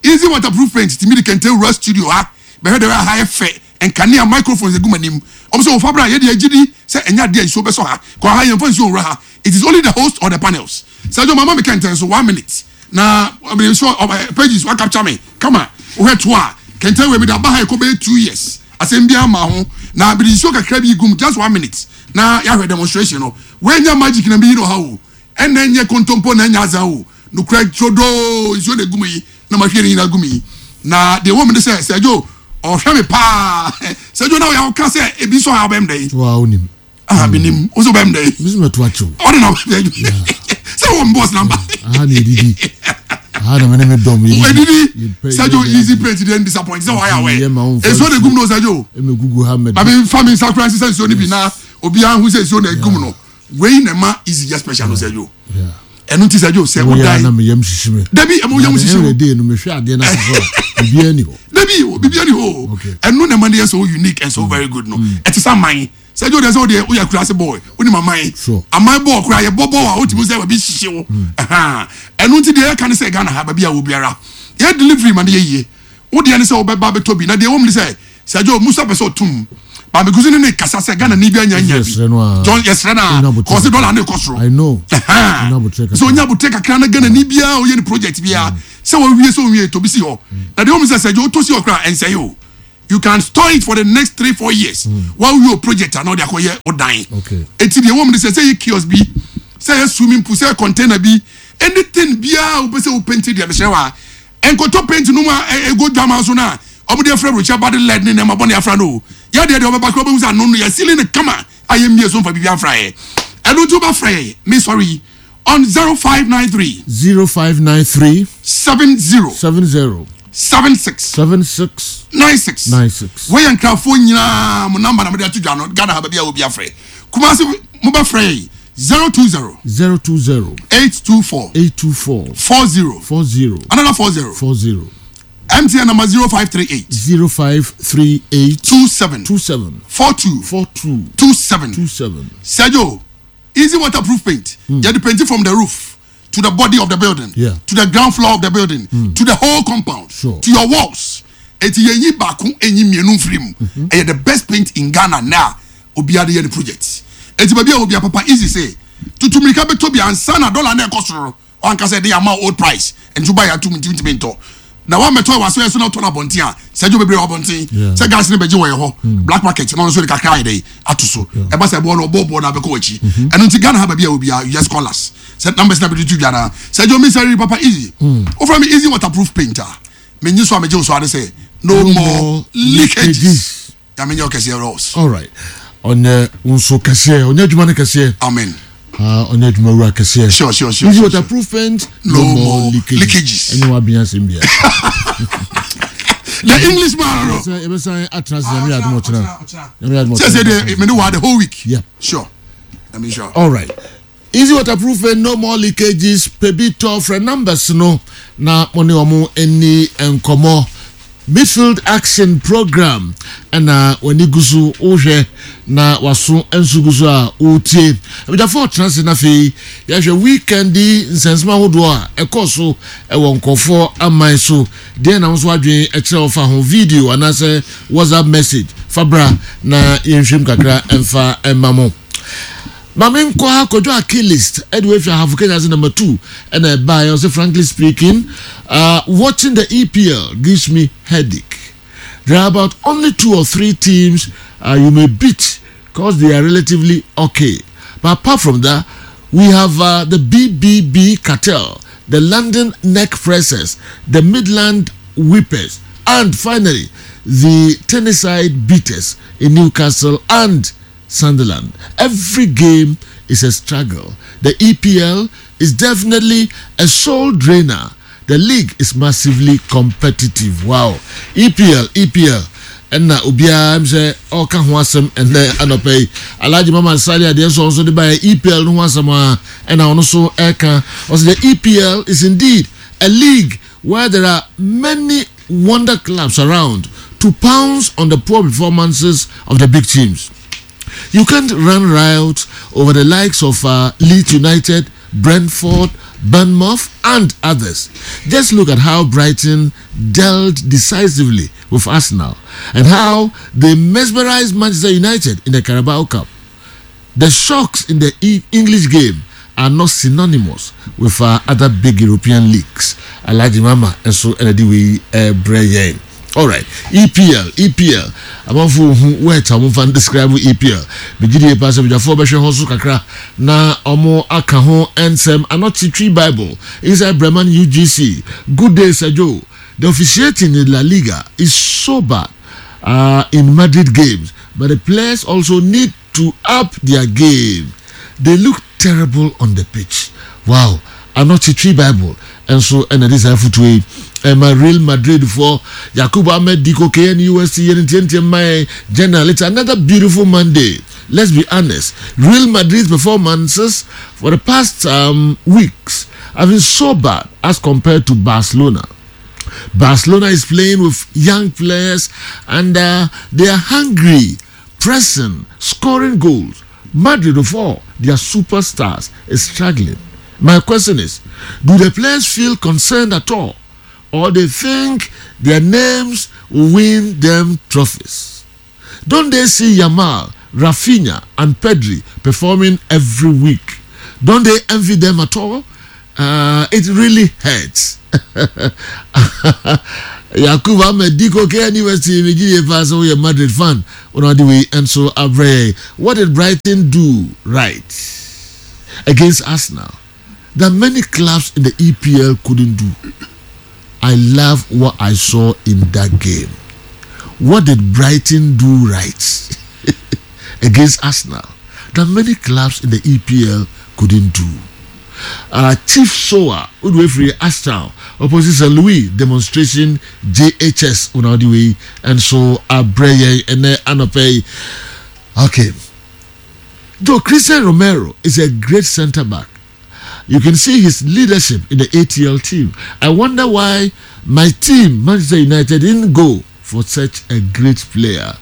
Easy waterproof paint tumi de kɛntɛn wura studio ha bɛhwɛ dɛ ha yɛ fɛ nkanea microphones egu m'anim wɔn sɛ ofa bra yɛ deɛ gyidi sɛ ɛnyɛ adeɛ a nsuo bɛsɔ ha kɔ ha yɛn fa nsuo nwura ha it is only the host or the panels Sergio mama me kɛntɛn so one minute na ɔmo nsuo ɔmo pages wa capture me kama wohwɛ to a kɛntɛn wei mi de aba ha ɛkɔ bɛyɛ 2 years asɛm bi ama ho na mede nsuo kakra bi gum just one minute na yɛahwɛ demonstration no wei nyɛ magic na mi yi no ha o ɛna nyɛ kontompo na ɛnyɛ azan o Nokorɛ turodoo nsuo na ɛgu me yi na mahwie ne nyinaa gu me yi. Na deɛ ɛwɔ mu ne sɛ, Sergio ɔhwɛ me paa. Sergio na ɔyɛ ɔka sɛ ebi nso ha ɔbɛm dɛ yi. Wa onim. Ah, menim. Wo sɛ ɔbɛm dɛ yi. Mi sɛ mɛto akyɛw. Ɔde na ɔbɛm sɛ wɔ mbɔs namba. Aha na edidi. Aha na mene me dɔm edidi. Edidi. Sergio easy paint deɛ disappoint sɛ wɔayɛ awɛ. Nsuo na egum no Sergio. Eme gugu ha mɛ. Maame nfa mi nsa kura nsesa nsuo no bi na obiara hu sɛ nsuo na egum no. Wei na ɛma easy yɛ special no Sergio. Ɛno nti Sergio sɛ wo dan. Na me yam hyehye me. Dabi ɛmo yam hyehye wo. Ɛyɛ no mehwɛ adeɛ na so a biribiara ni hɔ. Dabi biribiara ni hɔ. Ɛno na ɛma no yɛ so unique and so very good no. Ɛte sɛ aman. Sɛ ɛdi o deɛ sɛ o deɛ o yɛ akurase boy, o ni ma man. Sure. Aman bɔɔl koraa yɛ bɔ bɔɔl a o ti mu sɛ baabi hyehye wo. Ɛhan. Ɛno nti deɛ yɛka ne sɛ Ghana ha baabi a wɔ biara yɛ delivery ma ne yɛ yie. Wo deɛ ne sɛ wobɛba abɛtɔ bi na deɛ ɛwɔ mu ne sɛ Sir Joe Musa pɛ sɛ ɔtum ba mekusi ne ne kasa sɛ Ghana ni bi anya nya bi. Yɛsrɛ no a. John yɛsrɛ no Onya a abotrɛ kɔsi kakra. dɔla ne kɔ soro. I know. Ɛhan. Onya abotrɛ Sɛ kakra. onya abotrɛ kakra na Ghana ni biara ɔyɛ ne project biara sɛ wɔwie sɛ ɔnwie tɔ bi si hɔ. Na deɛ ɛwɔ mu sɛ Sir Joe wotɔ si hɔ koraa ɛnsɛe o. You can store it for the next 3-4 years. Wawie o project a na ɔde akɔyɛ wo dan. Okay. Eti deɛ ɛwɔ mu ne sɛ sɛ yɛ kiosk bi, sɛ yɛ swimming pool, sɛ yɛ container bi, anything biara a wopɛ sɛ wo paint deɛ mesrɛ wa nkɔtɔ paint no mu a ego dwama so no a ɔmo de afra aburokyi aba de lead ne nneɛma bɔne afra no o. Yɛ deɛ deɛ ɔbɛba koraa wobɛhu sɛ ano no yɛ sealing no kama a yɛmmie so mfa biribi amfra yɛ. Ɛno nti wobɛfrɛ yɛ me sorry yi on 0593 0593 70 70 76 76 96. 96. Wɔyɛ nkrafoɔ nyinaa mo number na mode ato dwa no. Ghana ha baabi a obi afrɛ Kumase mobɛfrɛ yɛ 020 020 824 824 40 40 another 40. 40. MTN number 0538 0538 27 27 42 42 27. 27. Sergio, easy waterproof paint. Yɛde paint from the roof to the body of the building, to the ground floor of the building, to the whole compound, to your walls. Eti yɛnyi baako enyi mmienu nfiri mu. Ɛyɛ the best paint in Ghana na obiara de yɛ ne project. Eti baabi a obiara papa easy say tutu mirika bɛtɔ bi ansa na dollar na ɛkɔ soro wankasa ɛde ama old price nti ba yɛ atum nti ntumi ntɔ na wa mɛtɔ wɔ aso yɛ so na ɔtɔ no abɔnten a sɛ ɛdwo bebree wɔ abɔnten sɛ gas ne bɛgye wɔ yɛ hɔ black market na ɔno nso de kakra ayɛ dɛ ato so ɛba sɛ ɛboɔ no ɔbɔ boɔ no abɛkɔ wɔ akyi. Ɛno nti Ghana ha baabi a obiara, you just call us sɛ numbers na bɛde to dwa na sɛ ɛdwo mi sɛ papa easy wofrɛ me easy waterproof paint a menyi so a megye wo so ade sɛ no more leakages. Nyame nyɛ ɔkɛseɛ Ross. All right. Ɔnyɛ wo nso kɛseɛ, ɔnyɛ adwuma no kɛseɛ. Amen. Ah, ɔnyɛ adwuma wura kɛseɛ. Sure. Easy waterproof paint, no, No more more leakages. leakages. Ɛnyɛ wabea asɛm bia. The English man no. Sɛ yɛbɛsan atena ase Nyame yɛ adom ɔkyena. Nyame yɛ adom sɛ ɔkyena. Deɛ mene wa the whole week. Sure, I mean, sure. All right. Easy waterproof paint, no more leakages. Pebi tɔ frɛ numbers no na mo ne ɔmo ani nkɔmɔ. Midfield action program ɛna w'ani gu so wohwɛ na waso nso gu so a wotie. Abidjafo ɔtena ase na afei yɛhwɛ weekend yi nsɛnsɛm ahodoɔ a ɛkɔɔ so ɛwɔ nkɔfoɔ aman so. Deɛ na nso adwene ɛkyerɛ wɔfa ho video anaasɛ WhatsApp message fa bra na yɛnhwɛm kakra ɛmfa ɛma mo. Maame nkɔ ha Kwadwo Achilles ɛde wafiri Ahafo Kenya ase number 2 ɛna ɛbaeɛ. Ɔsɛ frankly speaking, watching the EPL gives me headache. There are about only two or three teams you may beat because they are relatively okay, but apart from that we have the BBB cartel, the London neck pressers, the Midland whippers, and finally the Tennessee beaters in Newcastle and Sunderland. Every game is a struggle. The EPL is definitely a soul drainer. The league is massively competitive. Wow. EPL, EPL. Ɛna obiara m sɛ ɔka ho asɛm ɛnɛ anɔpɛ yi. Alhaji Mama Sali adeɛ nso ɔno nso de baeɛ EPL no ho asɛm a ɛna ɔno nso ɛka. Ɔsɛ the EPL is indeed a league where there are many wonder clubs around to pounce on the poor performances of the big teams. You can't run riot over the likes of Leeds United, Brentford, Bournemouth, and others. Just look at how Brighton dealt decisively with Arsenal and how they mesmerized Manchester United in the Carabao Cup. The shocks in the English game are not synonymous with other big European leagues. Alhaji Mama and so ɛna we brɛ. All right, EPL, EPL. Amanfo hu wet a wɔmfa describe EPL. Megye die pa sɛ badwafoɔ bɛhwɛ hɔ so kakra na ɔmo aka ho nsɛm. Anɔkye Twi Bible inside Breman UGC. Good day, Sir Joe. The officiating in La Liga is so bad in Madrid games, but the players also need to up their game. They look terrible on the pitch. Wow. Anɔkye Twi Bible nso ɛna de saa afotuo yi ɛma Real Madrid foɔ. Yakubu Ahmed Diko KNUST yɛn ntiantia mman general. It's another beautiful Monday. Let's be honest. Real Madrid's performances for the past weeks have been so bad as compared to Barcelona. Barcelona is playing with young players and they are hungry. Pressing, scoring goals. Madrid of all their superstars is struggling. My question is, do the players feel concerned at all? Or they think their names will win them trophies? Don't they see Yamal, Rafinha, and Pedri performing every week? Don't they envy them at all? Uh, it really hurts. Yakubu Ahmed Diko KNUST megye paa sɛ woyɛ Madrid fan wona wode wei nso abrɛ yɛn. What did Brighton do right against Arsenal that many clubs in the EPL couldn't do? I love what I saw in that game. What did Brighton do right against Arsenal that many clubs in the EPL couldn't do? Uh, Chief Soa wode wafiri Ashtown opposite St. Louis demonstration JHS wona wode wei nso abrɛ yɛn ɛnɛ anɔpɛ yi. Okay. Joe Christian Romero is a great centre back. You can see his leadership in the ATL team. I wonder why my team, Manchester United, didn't go for such a great player.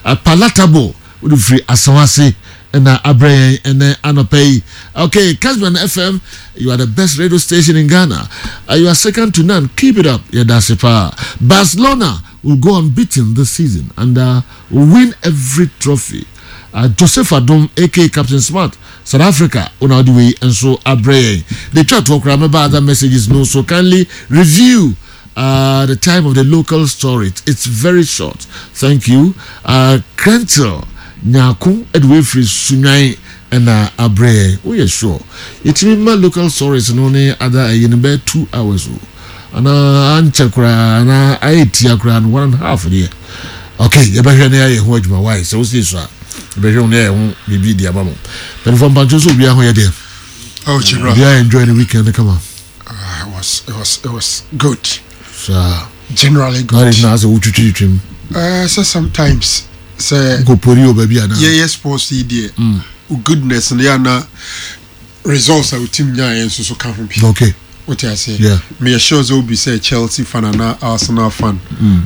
Uh, palatable wode firi Asawase ɛna abrɛ yɛn ɛnɛ anɔpɛ yi. Okay, Casman FM, you are the best radio station in Ghana. Uh, you are second to none. Keep it up. Yɛda ase paa. Barcelona will go unbeaten this season and uh, win every trophy. Uh, Joseph Adom, aka Captain Smart, South Africa, wona wode wei nso abrɛ yɛn. De twa toɔ koraa mɛba other messages no so kindly review uh, the time of the local story. It's very short. Thank you. Uh, Krentel Nyako ɛde wei firi Sunwan ɛna abrɛ yɛn. Woyɛ sure. Yɛtumi ma local stories no ne other ɛyi no bɛyɛ 2 hours o. Anaa ankyɛ koraa anaa ayɛ tia koraa no one and a half deɛ. Okay, yɛbɛhwɛ ne ayɛ ho adwuma wae sɛ wosie so a yɛbɛhwɛ ho ne ayɛ ho biribi de ama mo. Mpanimfoɔ mpantwo sɛ obiara ho yɛ deɛ. Oh, General. Obiara enjoy the weekend kama. Uh, it was it was it was good. Saa. Generally Na good. na asɛ wotwitwitwim. Uh, so sometimes sɛ Nkɔpori wɔ baabi anaa. yɛyɛ sports yi deɛ wo goodness no yɛ ana results a wo team nyaeɛ nso so ka ho bi. Wote aseɛ? Meyɛ sure sɛ obi sɛ Chelsea fan anaa Arsenal fan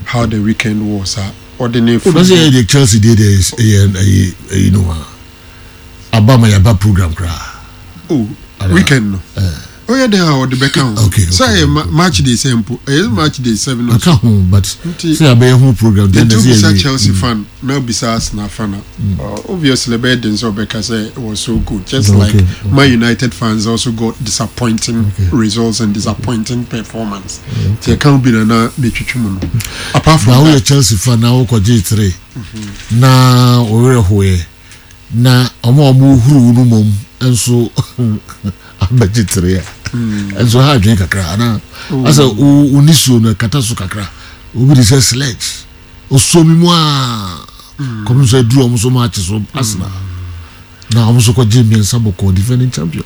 how the weekend was a ɔde ne O na sɛ yɛ de Chelsea deɛ deɛ ɛyɛ ɛyɛ ɛyi no a aba ma yaba program koraa. Oh, weekend no. Ɔyɛ dɛn a ɔde bɛka ho. Sɛ ɛyɛ match day sɛ mpo ɛyɛ match day seven or so. Aka ho but sɛ abɛyɛ ho program deɛ na sɛ yɛ. Chelsea fan na obisa Arsenal fan a obviously ɛbɛyɛ den sɛ ɔbɛka sɛ it was so good just like Man United fans also got disappointing results and disappointing performance. Nti ɛka ho bi na na metwitwi mu no. Apart from that. Na woyɛ Chelsea fan na wokɔgye three na wo werɛ hoeɛ na ɔmo a ɔmo huru no mom nso abɛgye three a nso ha adwene kakra anaa asɛ wo nisuo no ɛkata so kakra obi de sɛ sledge osuo mi mu a kɔmi nso aduru ɔmo so maakye so Arsenal na ɔmo nso kɔgye mmiɛnsa bɔkɔɔ defending champion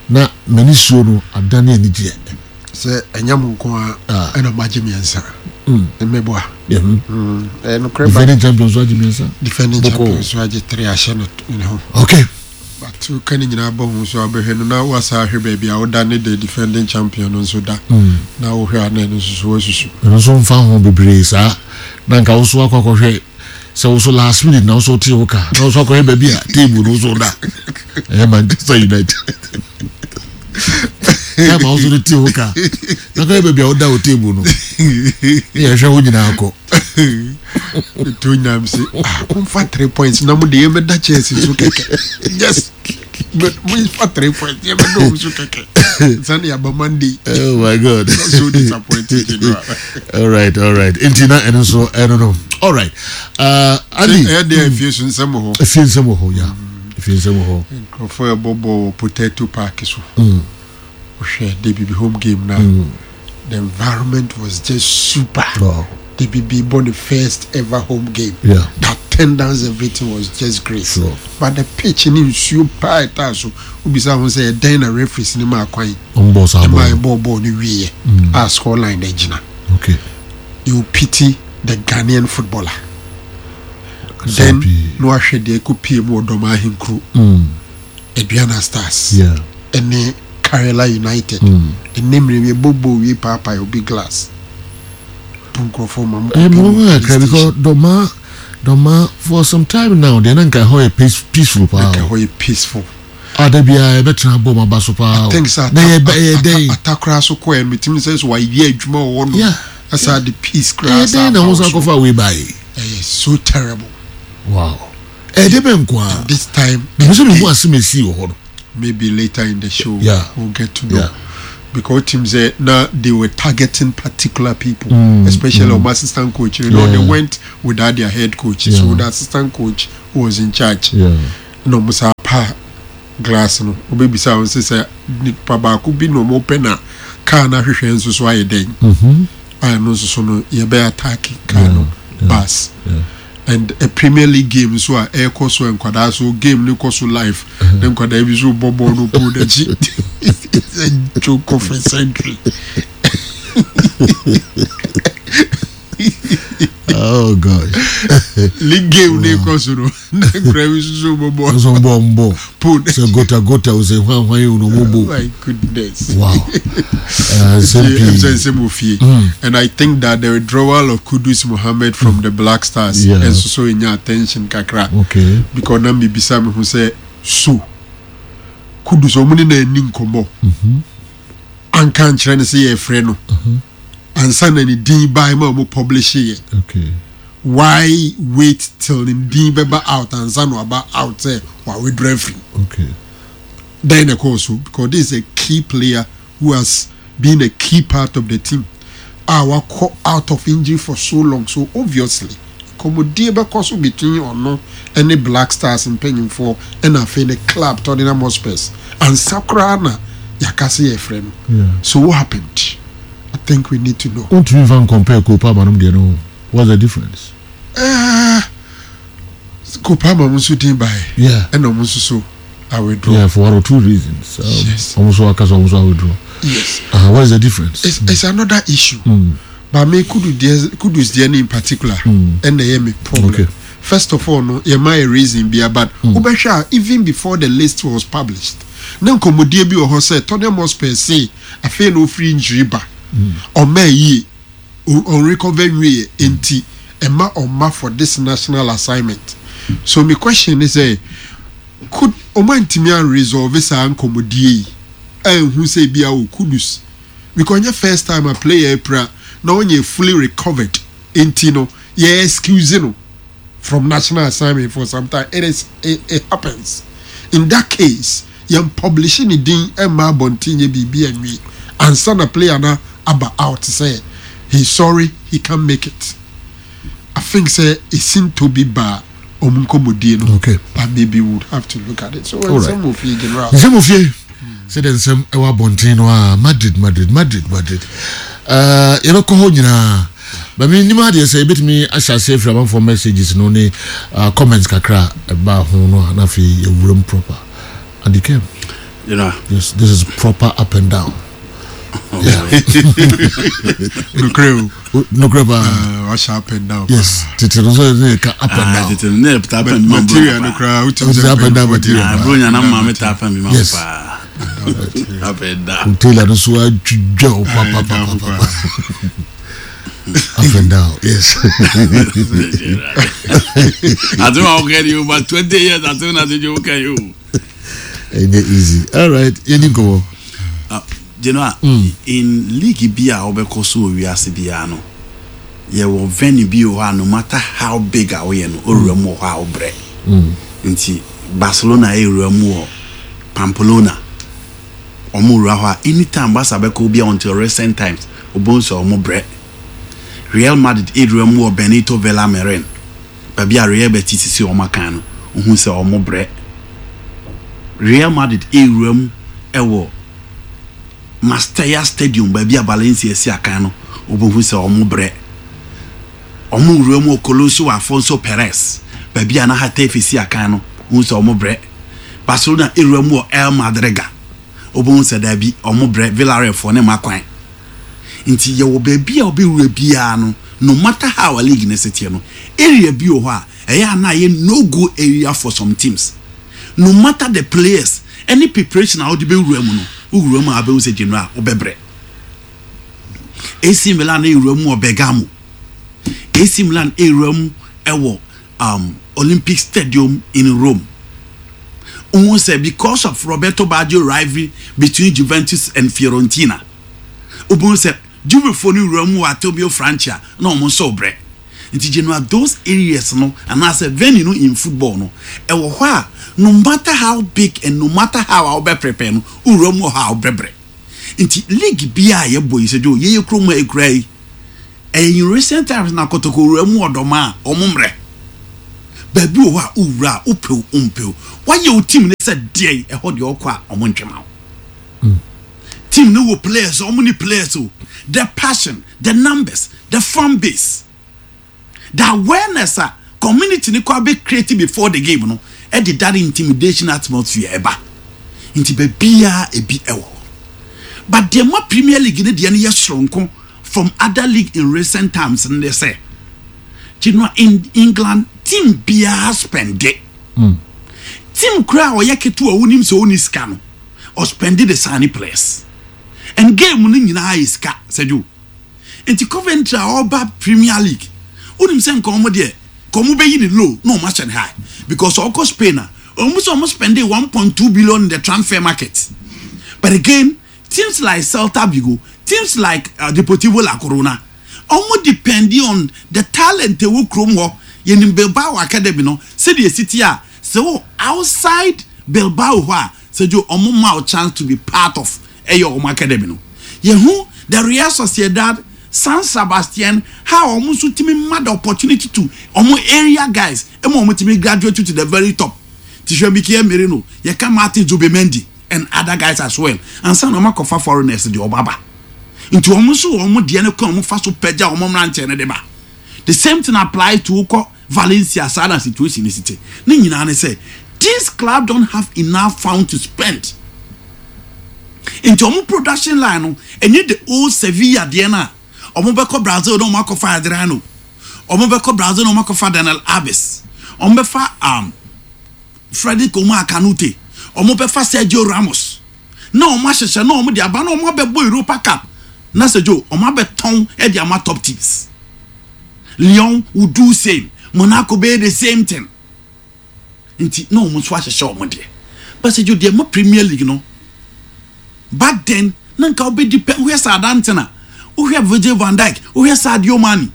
na m'ani suo no adane anigyeɛ. Sɛ ɛnyɛ mo nko a ɛna mo agye mmiɛnsa mmɛboa. Ɛyɛ nokorɛ ba defending champion so agye mmiɛnsa defending champion so agye three ahyɛ no ne ho. But woka ne nyinaa bɔ ho so a wobɛhwɛ no na woasa ahwɛ baabi a woda ne the defending champion no nso da na wohwɛ a na ɛno nso so woasusu. Ɛno nso mfa ho bebree saa na nka wo so akɔ akɔhwɛ sɛ wo so last minute na wo so wote wo ka na wo so akɔhwɛ baabi a table no so da ɛyɛ Manchester United time a wo so no te wo ka na kɔhwɛ baabi a woda wo table no ne yɛhwɛ wo nyinaa kɔ. To nyinaa mi sɛ ah momfa 3 points na mo de yɛbɛda Chelsea so kɛkɛ, yes, but momfa 3 points yɛbɛda wɔn so kɛkɛ sani yaba Monday. Oh my God. So disappointed, general. All right. Nti na ɛno nso ɛno no. All right. Uh, Andy. Ɛyɛ deɛ efie so nsɛm wɔ hɔ. Efie nsɛm wɔ hɔ, ya. Efie nsɛm wɔ hɔ. Nkurɔfoɔ ɛbɔ bɔɔl wɔ Potato Park so. Wohwɛ de bibi home game na the environment was just super. De bibi bɔ the first ever home game. The attendance, everything was just great. But the pitch ni nsuo paa ɛtaa so. Obisa ho sɛ ɛdɛn na referees ni maa kwan. Ɔmo saa bɔɔl. Ɛmaa ɛbɔɔ bɔɔl no wieɛ. A score line na gyina. You pity the Ghanaian footballer. Then na wahwɛ deɛ ɛkɔ pie mu wɔ Dɔm Ahenkuro. Aduana Stars. Ɛne Karela United. Ɛnɛ mmerɛ bi ɛbɔ bɔɔl wie paapae obi glass. Bu nkurɔfoɔ ma mo Ɛyɛ kɔ pie mo mu ho police kakra because station. Dɔma Dɔma for some time now deɛ na nka ɛhɔ yɛ peaceful paa. Nka ɛhɔ yɛ peaceful. A da biara yɛbɛtena abɔ mu aba so paa o. Na yɛ ɛyɛ dɛn. Ata koraa so kɔɛ no metumi sɛ so wayɛ adwuma wɔ hɔ nom. Yeah. Asa de peace koraa Ɛyɛ dɛn na wɔn san kɔfa wei baeɛ. Ɛyɛ so terrible. Wow. Ɛyɛ dɛ bɛn nko ara. This time. Mepɛ sɛ mehu asɛm a esii wɔ hɔ no. Maybe later in the show yeah. we'll get to know. Yeah. Because teams say now they were targeting particular people, especially mm. assistant coach. You know, they went without their head coach. Yeah. So the assistant coach was in charge. Yeah. Na ɔmo saa pa glass no, ɔbɛbisa wɔn sɛ sɛ nipa baako bi na ɔmo pɛ na car no ahwehwɛ nso so ayɛ dɛn. A ɛno nso so no yɛbɛ attack car no bus. And a Premier League game nso a ɛrekɔ so nkwadaa so game no kɔ so live na nkwadaa bi nso bɔ bɔɔl no pole n'akyi. It's a joke of a century. Oh gosh. League game ne kɔ so no na nkura bi soso bɔ bɔ. Nso bɔ mbɔ. Pole. Sɛ gota gota o sɛ hwan hwan yi o na ɔmo bo. Oh my goodness. Wow. Nsɛm pii. Ɛsɛ nsɛm wɔ fie. And I think that the withdrawal of Kudus Mohammed from the Black Stars nso so enya attention kakra. Okay. Because na mi bisa mi ho sɛ so Kudus ɔmo ne na ani nkɔmɔ. Anka nkyerɛ no sɛ yɛfrɛ no. Ansa na ne din bae ma ɔmo publish yɛ. Okay. Why wait till ne din bɛba out ansa na waba out sɛ wa withdraw afiri. Okay. Dɛn na ɛkɔɔ so because this is a key player who has been a key part of the team a wakɔ out of injury for so long so obviously nkɔmmɔdie bɛkɔ so between ɔno ne Black Stars mpanyinfoɔ ɛna afei ne club Tottenham Hotspurs ansa koraa na yɛaka sɛ yɛfrɛ no. Yeah. So what happened? I think we need to know. Wontumi nfa ncompare Cole Palmer nom deɛ no ho. What's the difference? Uh, Cole Palmer mo nso din bae. Yeah. Ɛna ɔmo nso so a withdraw. Yeah, for one or two reasons. Yes. Ɔmo nso aka sɛ ɔmo nso a withdraw. Yes. What is the difference? It's another issue. But me Kudus deɛ Kudus deɛ no in particular ɛna ɛyɛ me problem. Okay. First of all no yɛ ma yɛ reason bia but wobɛhwɛ a even before the list was published na nkɔmmɔdie bi wɔ hɔ sɛ Tottenham Hotspur se afei na ofiri injury ba ɔmma yie ɔnrecover nwieɛ nti ɛma ɔmma for this national assignment. So me question ne sɛ could ɔmo antumi anresolve saa nkɔmmɔdie yi anhu sɛ ebia o Kudus because ɔnyɛ first time a player apira na ɔnyɛ fully recovered nti no yɛ excuse no from national assignment for some time it is it, it happens in that case yɛn publish ne din ɛmma abɔnten nyɛ biribi anwie ansa na player na aba out sɛ he sorry he can't make it. I think sɛ esintɔ bi ba ɔmo nkɔmmɔdie no Okay. but maybe we would have to look at it so All right. nsɛm wɔ fie general. Nsɛm wɔ fie sɛdeɛ nsɛm ɛwɔ abɔnten no a Madrid Madrid Madrid Madrid uh, yɛbɛkɔ hɔ nyinaa ba menim adeɛ sɛ yɛbɛtumi ahyɛ aseɛ afiri amanfoɔ messages no ne comments kakra a ɛbaa ho no a na afei yɛwura mu proper and it came General. Yes, this is proper up and down. Nokorɛ o. Nokorɛ paa. Wahyɛ up and down. Yes, tete no nso ne ka up and down. Tete no ne ta up and down. Material no koraa wotim sɛ up and down material. Ah, bro nya na maame ta up and down Yes. paa. Up and down. Taylor no so adwidwa o pa pa pa pa pa. Up and down, yes. Ati ma okay you but 20 years ati na ti jo okay you. Ɛnyɛ easy. All right, yɛni nkɔmɔ. General, in league bi a wobɛkɔ so wɔ wiase biara no, yɛwɔ venue bi wɔ hɔ a no matter how big a woyɛ no, owura mu wɔ hɔ a wobrɛ. Nti Barcelona ewura mu wɔ Pamplona. Ɔmo wura hɔ a anytime Barca bɛkɔ bi a until recent times, obohu sɛ ɔmo brɛ. Real Madrid ewura mu wɔ Benito Villamarin, baabi a Real Betis sisi ɔmo akan no, ohu sɛ ɔmo brɛ. Real Madrid ewura mu ɛwɔ Mastella Stadium, baabi a Valencia si akan no, obohu sɛ ɔmo brɛ. Ɔmo wura mu wɔ Coloso Alfonso Perez, baabi a na Getafe si akan no, ohu sɛ ɔmo brɛ. Barcelona ewura mu wɔ El Madrigal, obohu sɛ daabi ɔmo brɛ. Villarreal foɔ ne ma kwan. Nti yɛwɔ baabi a ɔbɛwura biara no, no matter how a league ne seteɛ no, area bi wɔ hɔ a ɛyɛ a na ayɛ no go area for some teams. No matter the players, any preparation a wode bɛwura mu no, wowura mu a wobɛhu sɛ general wobɛbrɛ. AC Milan ewura mu wɔ Bergamo. AC Milan ewura mu ɛwɔ Olympic Stadium in Rome. Wohu sɛ because of Roberto Baggio rivalry between Juventus and Fiorentina, wobɛhu sɛ Juvefoɔ no wura mu wɔ Antonio Francia na wɔn nso rebrɛ. Nti Genoa those areas no anaasɛ venue no in football no ɛwɔ hɔ a no matter how big and no matter how a wobɛ prepare no wowura mu wɔ hɔ a wobɛbrɛ. Nti league biara a yɛbɔ yi sɛ Joe yɛyɛ kurom ha yi koraa yi Ɛyɛ in recent times na kotoko wura mu ɔdɔm a wɔn mmerɛ. Baabi wɔ hɔ a wowura a wopɛ o wompɛ o wayɛ wo team no sɛ deɛn ɛhɔ deɛ ɔkɔ a wɔn ntwe ma wo. Team no wɔ players wɔn ni players o the passion the numbers the fan base the awareness a community no kɔ abɛ create before the game no ɛde that intimidation atmosphere ɛba nti baabiara ebi ɛwɔ hɔ but deɛ ma Premier League no deɛ no yɛ soronko from other league in recent times no ne sɛ Genoa in England team biara spɛnde mm. Team koraa a ɔyɛ ketewa wonim sɛ ɔnni sika no ɔspɛnde de sign players and game no nyinaa yɛ sika sɛdwo nti Coventry a ɔba Premier League wonim sɛ nka ɔmo deɛ nka ɔmo bɛyi ne low na ɔmo ahyɛ no high because ɔkɔ Spain a ɔmo sɛ ɔmo spɛnde 1.2 billion in the transfer market. But again, teams like Celta Vigo, teams like Deportivo La Corona, ɔmo depend on the talent ɛwɔ kurom hɔ. Yɛnim Bilbao Academy no sɛdeɛ ɛsi teɛ a, sɛ wowɔ outside Bilbao hɔ a, Sergio, ɔmo ma wo chance to be part of ɛyɛ ɔmo academy no. Yɛhu the Real Sociedad, San Sebastian, how ɔmo nso tumi ma the opportunity to ɔmo area guys ɛma ɔmo tumi graduate to the very top. Nti hwɛ Mikel Merino, yɛka Martin Zubimendi, and other guys as well ansa na wɔn akɔfa foreigners deɛ wɔn aba nti wɔn nso wɔn deɛ no kwan wɔn fa so pɛgya wɔn mmeranteɛ no de ba. The same thing applies to wokɔ Valencia, saa na situation no si te. Ne nyinaa ne sɛ this club don't have enough fund to spend nti wɔn production line no ɛnyɛ the old Sevilla deɛ no a wɔn bɛkɔ Brazil na wɔn akɔfa Adriano, wɔn bɛkɔ Brazil na wɔn akɔfa Daniel Alves, wɔn bɛfa Frederick Omar Kanute, wɔbɛfa Sergio Ramos na wɔn ahyehyɛ na wɔn de aba na wɔn abɛbɔ Europa Cup na Sergio wɔn abɛtɔn de ama top teams. Lyon will do same, Monaco bɛyɛ the same thing. Nti na wɔn nso ahyehyɛ wɔn deɛ. But Sergio deɛ ma Premier League no back then na nka wobɛdi pɛ wohwɛ Southampton a wohwɛ Virgil van Dijk wohwɛ Sadio Mane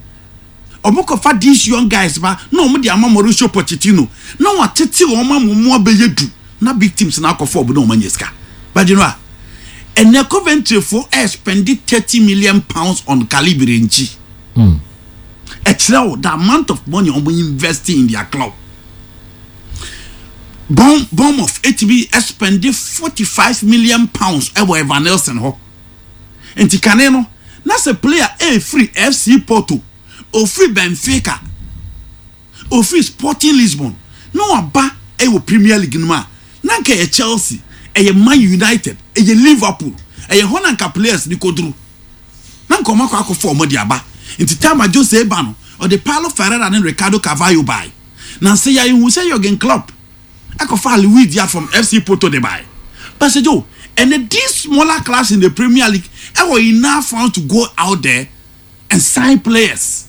Ɔmo kɔfa these young guys ba na ɔmo de ama Mauricio Pochettino na watete wɔn ama ɔmo abɛyɛ du na big teams no akɔfa ɔmo na ɔmo anya sika. But you know a, ɛnɛ Coventry foɔ ɛɛspɛnde £30 million on Calibre nkyi. Ɛkyerɛ wo the amount of money ɔmo invest in their club. Bournemouth ɛtumi ɛspɛnde £45 million ɛwɔ Evanilson hɔ. Nti kane no, na sɛ player ɛɛfiri FC Porto, ofiri Benfica, ofiri Sporting Lisbon na waba ɛwɔ Premier League no mu a, na nka ɛyɛ Chelsea, ɛyɛ Man United, ɛyɛ Liverpool, ɛyɛ hɔ na nka players no kɔduru. Na nka wɔn akɔ akɔfa wɔn de aba. Nti time a Jose ba no, ɔde Paulo Ferreira ne Ricardo Carvalho bae. Nansa yi ara yɛhu sɛ Jurgen Klopp ɛkɔfaa Luis Diaz from FC Porto de bae. But Sir Joe, ɛnɛ these smaller clubs in the Premier League ɛwɔ enough funds to go out there and sign players.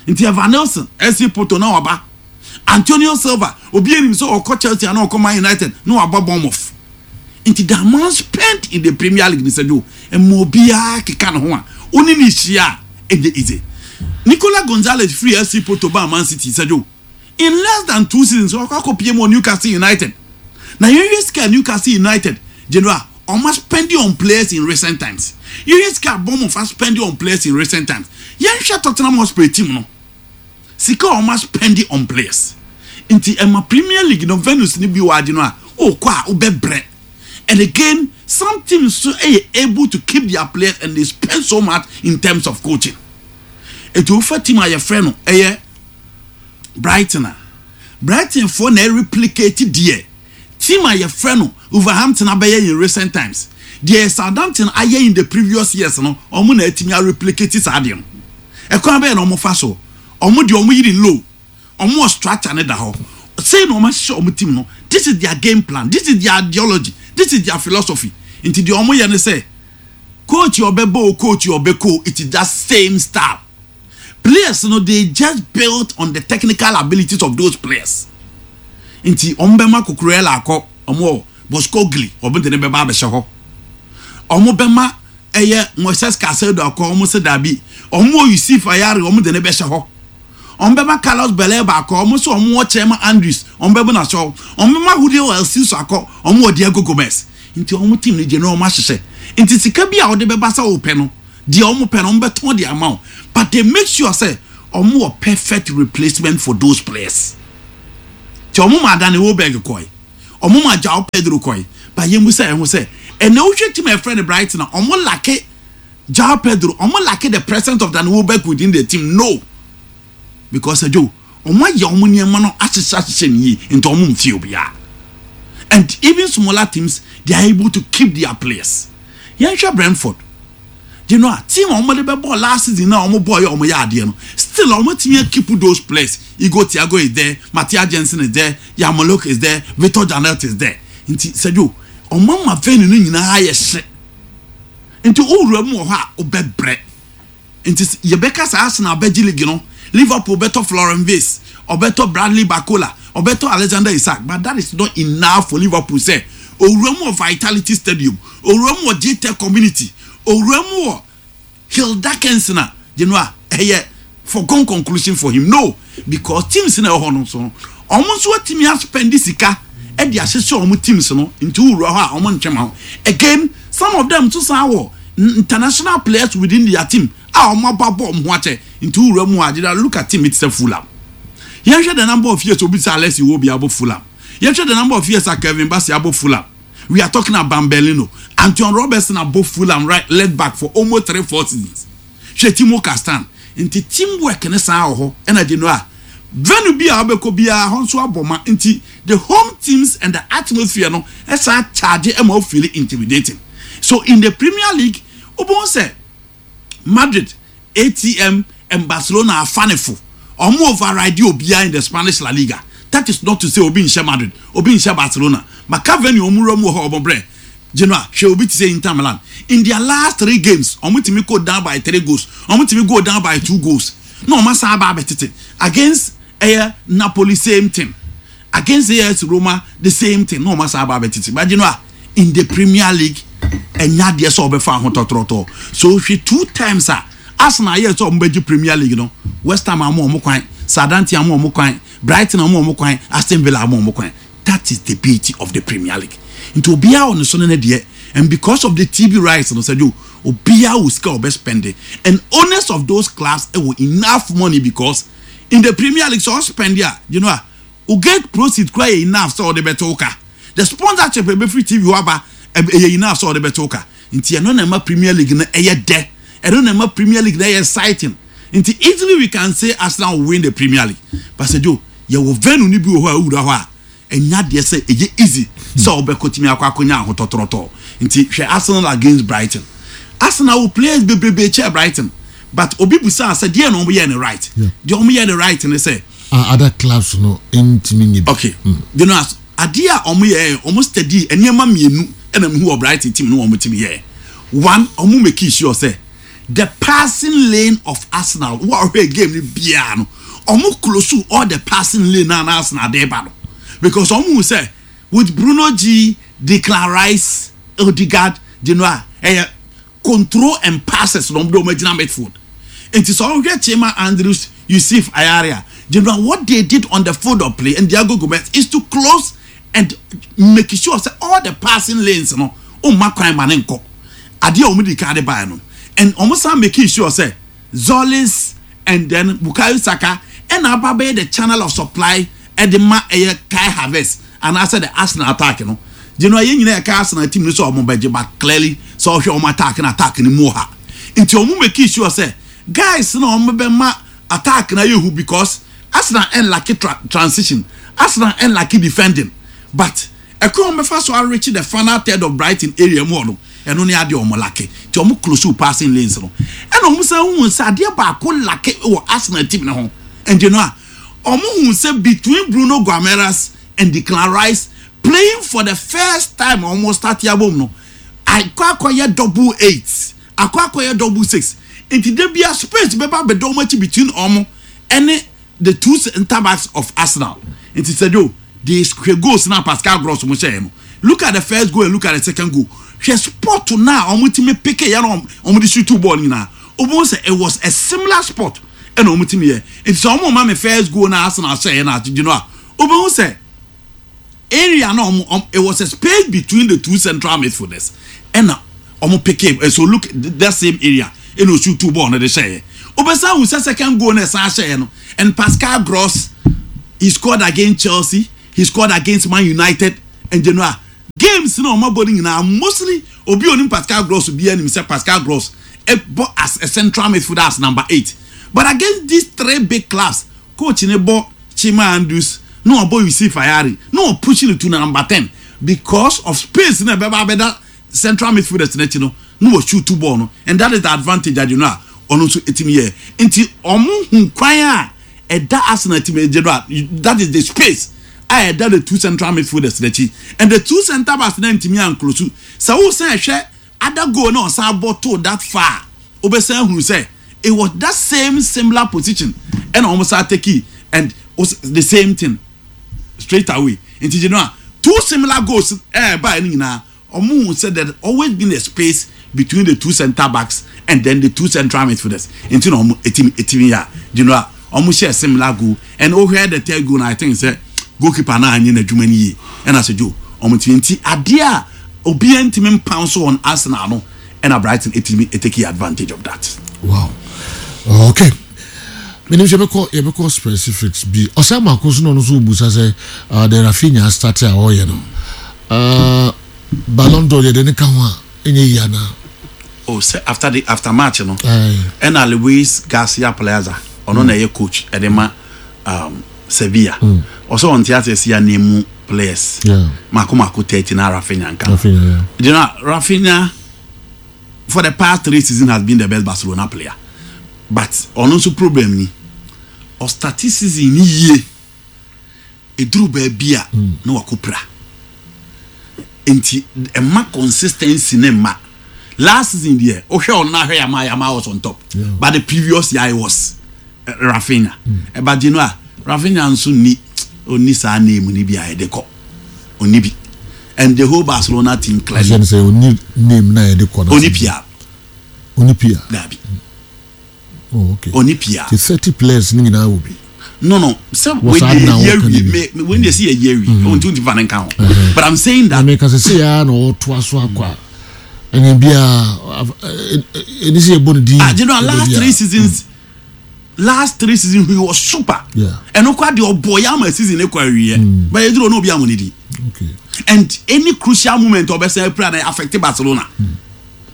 Nti Evanilson, FC Porto na waba. Antonio Silva, obi anim sɛ ɔkɔ Chelsea ana ɔkɔ Man United na waba Bournemouth. Nti the amount spent in the Premier League ni Sir Joe, ɛma obiara keka ne ho a, wo ne no hyia a, ɛnyɛ easy. Nicola Gonzalez firi FC Porto baa Man City, Sir Joe, In less than two seasons wakɔ akɔpie mu wɔ Newcastle United. Na yɛnhwɛ sika a Newcastle United general wɔn aspɛndi on players in recent times. Yɛnhwɛ sika a Bournemouth aspɛndi on players in recent times. Yɛnhwɛ Tottenham Hotspur team no sika a wɔn aspɛndi on players. Nti ɛma Premier League no venues no bi wɔ agye no a wokɔ a wobɛbrɛ. And again, some teams nso yɛ able to keep their players and they spend so much in terms of coaching. Nti wofa team a yɛfrɛ no ɛyɛ Brighton a, Brighton foɔ na ɛreplicate deɛ team a yɛfrɛ no Wolverhampton abɛyɛ in recent times. Deɛ Southampton ayɛ in the previous years no, wɔn na atumi areplicate saa adeɛ no. Ɛkwan bɛyɛ na wɔn fa so? Wɔn deɛ wɔn yiri low, wɔn wɔ structure no da hɔ. Sei na wɔn ahyehyɛ wɔn team no. This is their game plan, this is their ideology, this is their philosophy. Nti deɛ wɔn yɛ ne sɛ, coach a ɔbɛbɔ o, coach a ɔbɛkɔ o, it is that same style. Players no, they just built on the technical abilities of those players. Nti ɔmo bɛma Cucurella akɔ, ɔmo wɔ Boscogli, ɔmo de ne bɛba abɛhyɛ hɔ. Ɔmo bɛma ɛyɛ Moises Caicedo akɔ, ɔmo sɛ dabi, ɔmo wɔ Yusuf Ayari, ɔmo de ne bɛhyɛ hɔ. Ɔmo bɛma Carlos Baleba akɔ, ɔmo sɛ ɔmo wɔ Chema Andrews, ɔmo bɛbɔ n'ahyɛ hɔ. Ɔmo bɛma Julio El Ciso akɔ, ɔmo wɔ Diego Gomez. Nti ɔmo team no gye no ɔmo ahyehyɛ. Nti sika bi a ɔde bɛba sɛ ɔpɛ no, deɛ ɔmo pɛ no, ɔmo bɛtɔn de ama wo, but they make sure sɛ ɔmo wɔ perfect replacement for those players. Nti ɔmo ma Danny Welbeck kɔɛ, ɔmo ma Joao Pedro kɔɛ, but yɛn mu sɛ ɛho sɛ ɛnna wohwɛ team a ɛfrɛ no Brighton a, ɔmo lack Joao Pedro, ɔmo lack the presence of Danny Welbeck within the team? No, because ɛdwo ɔmo ayɛ ɔmo nneɛma no ahyehyɛ ahyehyɛ ne yie, nti ɔmo nfi obiara, and even smaller teams, they are able to keep their players. Yɛnhwɛ Brentford. A team a wɔn de bɛ bɔ last season na wɔn bɔ yɛ wɔn yɛ adeɛ no, still wɔn tumi keep those players. Igor Thiago is there, Mathias Jensen is there, Yarmolenko is there, Victor Janelt is there. Nti sɛdio wɔn ama venue no nyinaa yɛ hyɛ, nti owura mu wɔ hɔ a ɔbɛbrɛ. Nti yɛbɛka saa, Arsenal abɛgye league no, Liverpool bɛtɔ Florian Wirtz, ɔbɛtɔ Bradley Barcola, ɔbɛtɔ Alexander Isak, but that is not enough for Liverpool sɛ owura mu wɔ Vitality Stadium, owura mu wɔ Gtech Community, owura mu wɔ Hill Dickinson a a ɛyɛ foregone conclusion for him? No, because teams na ɛwɔ hɔ no so no, ɔmo nso atumi aspend sika ɛde ahyehyɛ ɔmo teams no. Nti wowura hɔ a, ɔmo ntwɛm ho. Again, some of them nso san wɔ international players within their team a ɔmo aba bɔ ɔmo ho akyɛ. Nti wowura mu a, gyina, look at team it sɛ Fulham. Yɛnhwɛ the number of years obi sɛ Alex Iwobi abɔ Fulham. Yɛhwɛ the number of years a Kevin Bassey abɔ Fulham. We are talking about Berlino, Anton Robertson abɔ Fulham right left back for almost 3, 4 seasons. Hwɛ Timo Castan. Nti teamwork ne saa wɔ hɔ. Ɛna gye no a, venue bi a wobɛkɔ biara hɔ nso abɔ ma. Nti the home teams and the atmosphere no ɛsan charge ɛma wo feel intimidating. So in the Premier League, wobɛhu sɛ Madrid, ATM and Barcelona afanefo, ɔmo override obiara in the Spanish La Liga. That is not to say obi nhyɛ Madrid, obi nhyɛ Barcelona. Maka venue ɔmo wura mu wɔ hɔ, ɔmo brɛ. Genoa, hwɛ obi ti sɛ Inter Milan, in their last three games, ɔmo tumi go down by three goals, ɔmo tumi go down by two goals na ɔmo asan aba abɛtete. Against ɛyɛ Napoli, same thing. Against AS Roma, the same thing, na ɔmo asan aba abɛtete. But Genoa, in the Premier League, ɛnya adeɛ sɛ ɔbɛfa ahotɔtɔrɔtɔ so. Hwɛ, two times a Arsenal ayɛ sɛ ɔmo bɛgye Premier League no, West Ham ama ɔmo kwan, Southampton ama ɔmo kwan, Brighton ama ɔmo kwan, Aston Villa ama ɔmo kwan. That is the beauty of the Premier League. Nti obiara wɔ ne so ne ne deɛ, and because of the TV rights no, sɛdeɛ obiara wɔ sika a ɔbɛ spend it, and owners of those clubs ɛwɔ enough money, because in the Premier League, sɛ ɔspend a, a o get proceed kura yɛ enough sɛ ɔde bɛtɛ wo ka. The sponsorship ɛbɛfiri TV hɔ aba ɛyɛ enough sɛ ɔde bɛtɛ wo ka. Nti ɛno na ɛma Premier League no ɛyɛ dɛ, ɛno na ɛma Premier League no ɛyɛ exciting. Nti easily we can say Arsenal will win the Premier League, but sɛ Joe, yɛwɔ venue ni bi wɔ hɔ a owura hɔ a, ɛnya deɛ sɛ ɛyɛ easy sɛ ɔbɛkɔ tumi akɔ akɔnya ahotɔtɔrɔtɔ. Nti hwɛ Arsenal against Brighton. Arsenal wɔ players bebrebe kyɛ Brighton, but obi busa sɛ deɛ na wɔn yɛ ne right, deɛ wɔn yɛ ne right ne sɛ Other clubs no ntumi nye bi. Okay, as adeɛ a wɔn yɛ, wɔn study nneɛma mmienu ɛna mehu wɔ Brighton team no, wɔn team yɛ one, wɔn make sure sɛ the passing lane of Arsenal, wɔn a wɔhwɛ game no biara no, wɔn close all the passing lane na na Arsenal de ba no, because wɔn hu sɛ with Bruno G, Declan Rice, Odegaard, a ɛyɛ control and passes na wɔn de wɔn agyina midfield. Nti sɛ ɔhwɛ Chema Andrews, Yusuf Ayari a, what they did on the field of play and Diego Gomez is to close and make sure say all the passing lanes no, ɔmma kwan ma ne nkɔ. Adeɛ a wɔn di kan de baa no, and wɔn san make sure say Tzolis and then Bukayo Saka ɛna aba bɛyɛ the channel of supply ɛde ma ɛyɛ Kai Havertz anaasɛ the Arsenal attack no. Yɛn nyinaa yɛ Arsenal team no sɛ ɔmo bɛgye, but clearly sɛ ɔhwɛ ɔmo attack na attack no mu wɔ ha, nti ɔmo make sure sɛ guys na ɔmo bɛma attack na yɛ hu, because Arsenal ɛn lack transition, Arsenal ɛn lack defending, but ɛkwan ɔmo bɛfa so areach the final third of Brighton area mu hɔ no, ɛno ne adeɛ ɔmo lack. Nti ɔmo close passing lanes no, ɛna ɔmo san hu sɛ adeɛ baako lack wɔ Arsenal team ne ho. Ɛnti no a ɔmo hu sɛ between Bruno Guimaraes and Declan Rice playing for the first time, ɔmo start abom no, akɔ akɔyɛ double eight, akɔ akɔyɛ double six. Nti de bia space bɛba abɛda ɔmo akyi between ɔmo ɛne the two centre backs of Arsenal. Nti sɛdo de hwɛ goals na Pascal Gross mo hyɛ no, look at the first goal and look at the second goal. Hwɛ spot na ɔmo timi pick yɛ no, ɔmo de shoot ball nyinaa, ɔmo sɛ it was a similar spot ɛna ɔmo timi yɛ. Nti sɛ ɔmo ma me first goal na Arsenal hyɛ yɛ na agyegye no a, ɔmo sɛ area na ɔmo it was a space between the two central midfielders ɛna ɔmo pick it. So look, that same area ɛna o shoot two ball no de hyɛ yɛ. Ɔbɛsan ahu sɛ second goal na ɛsan hyɛ yɛ no, and Pascal Gross, he scored against Chelsea, he scored against Man United, and general games na ɔmo abɔ no nyinaa, mostly obi onim Pascal Gross bi anim sɛ Pascal Gross ɛbɔ as a central midfielder, as number 8, but against these three big clubs, coach ne bɔ Chima Andrews na ɔbɔ Yusuf Ayari na ɔpush no to number 10 because of space na ɛbɛba abɛda central midfielders n'akyi no na wɔ shoot two ball no, and that is the advantage adi no a ɔno nso etimi yɛ. Nti ɔmo hu kwan a ɛda Arsenal team egye no a, that is the space a ɛda the two central midfielders n'akyi and the two centre backs na ntumi anclose. Sɛ wosan ɛhwɛ other goal na ɔsan bɔ to that far, wobɛsan hunu sɛ it was that same similar position ɛna wɔn san take and was the same thing straight away. Nti a two similar goals ɛɛ baa ɛno nyinaa, ɔmo hu sɛ there always been a space between the two centre backs and then the two central midfielders. Nti na ɔmo etimi yɛ a a ɔmo hyɛ similar goal, and ohwɛ the third goal na I think sɛ goalkeeper na anyi n'adwuma ni yie ɛna sɛ joe ɔmo timi. Nti adeɛ a obiara ntumi mpan so on Arsenal no, ɛna Brighton etimi etake advantage of that. Wow, okay, menim sɛ yɛbɛkɔ specifics bi. Ɔsɛ maako so na ɔno nso wobusa sɛ the Raphinha start a ɔyɛ no, Ballon d'Or yɛde ne ka ho a ɛnyɛ yi anaa? Oh, sɛ after match no, ɛna Luis Garcia Plaza, ɔno na ɛyɛ coach ɛde ma Sevilla, ɔsɛ ɔnte ase si anemu players mako mako 30 na Raphinha nka. Raphinha, yeah. Raphinha for the past 3 seasons has been the best Barcelona player, but ɔno nso problem ni ɔstart season ni yie, eduru baabi a na wakɔ pira, nti ɛma consistency ne ma. Last season deɛ, wohwɛ ɔno ahwɛ Yamal was on top, but the previous year it was Raphinha. Ɛba gye no a, Raphinha nso ni onni saa name ni bi a yɛde kɔ, onni bi, and the whole Barcelona team clearly Ahyɛ no sɛ ɔni name na yɛde kɔ no. Onni PR. Ɔni PR. Dabi. Oh, okay. Onni PR. Ti 30 players ne nyinaa wɔ bi. No, sɛ Wɔ saa wei na de yɛ wɔka wie ne bi. Me wei de si yɛ yɛ wie ohun ti fa ne nka ho, but I'm saying Na that meka sɛ sɛ yɛa na ɔtoa so akɔ a ɛne biaa ɛni sɛ yɛbɔ no din. Ah, last Ɛbɛ three biaa. seasons, last 3 seasons he was super. Ɛno kora deɛ ɔbɔ yɛ ama season ne kɔ awie, but yɛduru ɔno obi amu ne di and any crucial moment ɔbɛsɛn apira na affect Barcelona,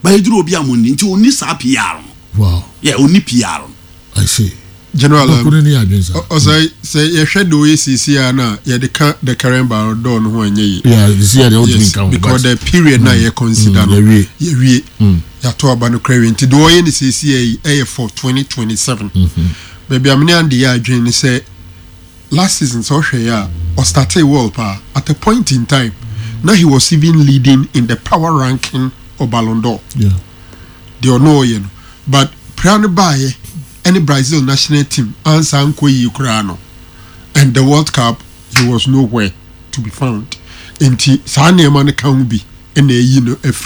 but yɛduru obi amu ne di, nti oni saa PR no. Yeah, oni PR no. I see. General, Baako no ne yɛ adwene saa. Ɔsɛ sɛ yɛhwɛ de oyɛ sisi a na yɛde ka the current Ballon d'Or no ho ɛnyɛ yie. Yeah, sisi yɛ deɛ wotumi Yes, nka ho. because but the period na yɛ consider no, yɛwie. Yɛwie, yɛato aba no kora wie, nti deɛ ɔyɛ no sisi yɛ yi ɛyɛ for 2027. Baabi a mene ande yɛ adwene ne sɛ last season, sɛ ɔhwɛ yɛ a, ɔstarted well paa. At a point in time na he was even leading in the power ranking of Ballon d'Or, deɛ ɔno ɔyɛ no, but pra no baayɛ ɛne Brazil national team ansa nkɔ yie koraa no, and the World Cup he was nowhere to be found. Nti saa nneɛma no ka ho bi ɛna ɛyi no afiri.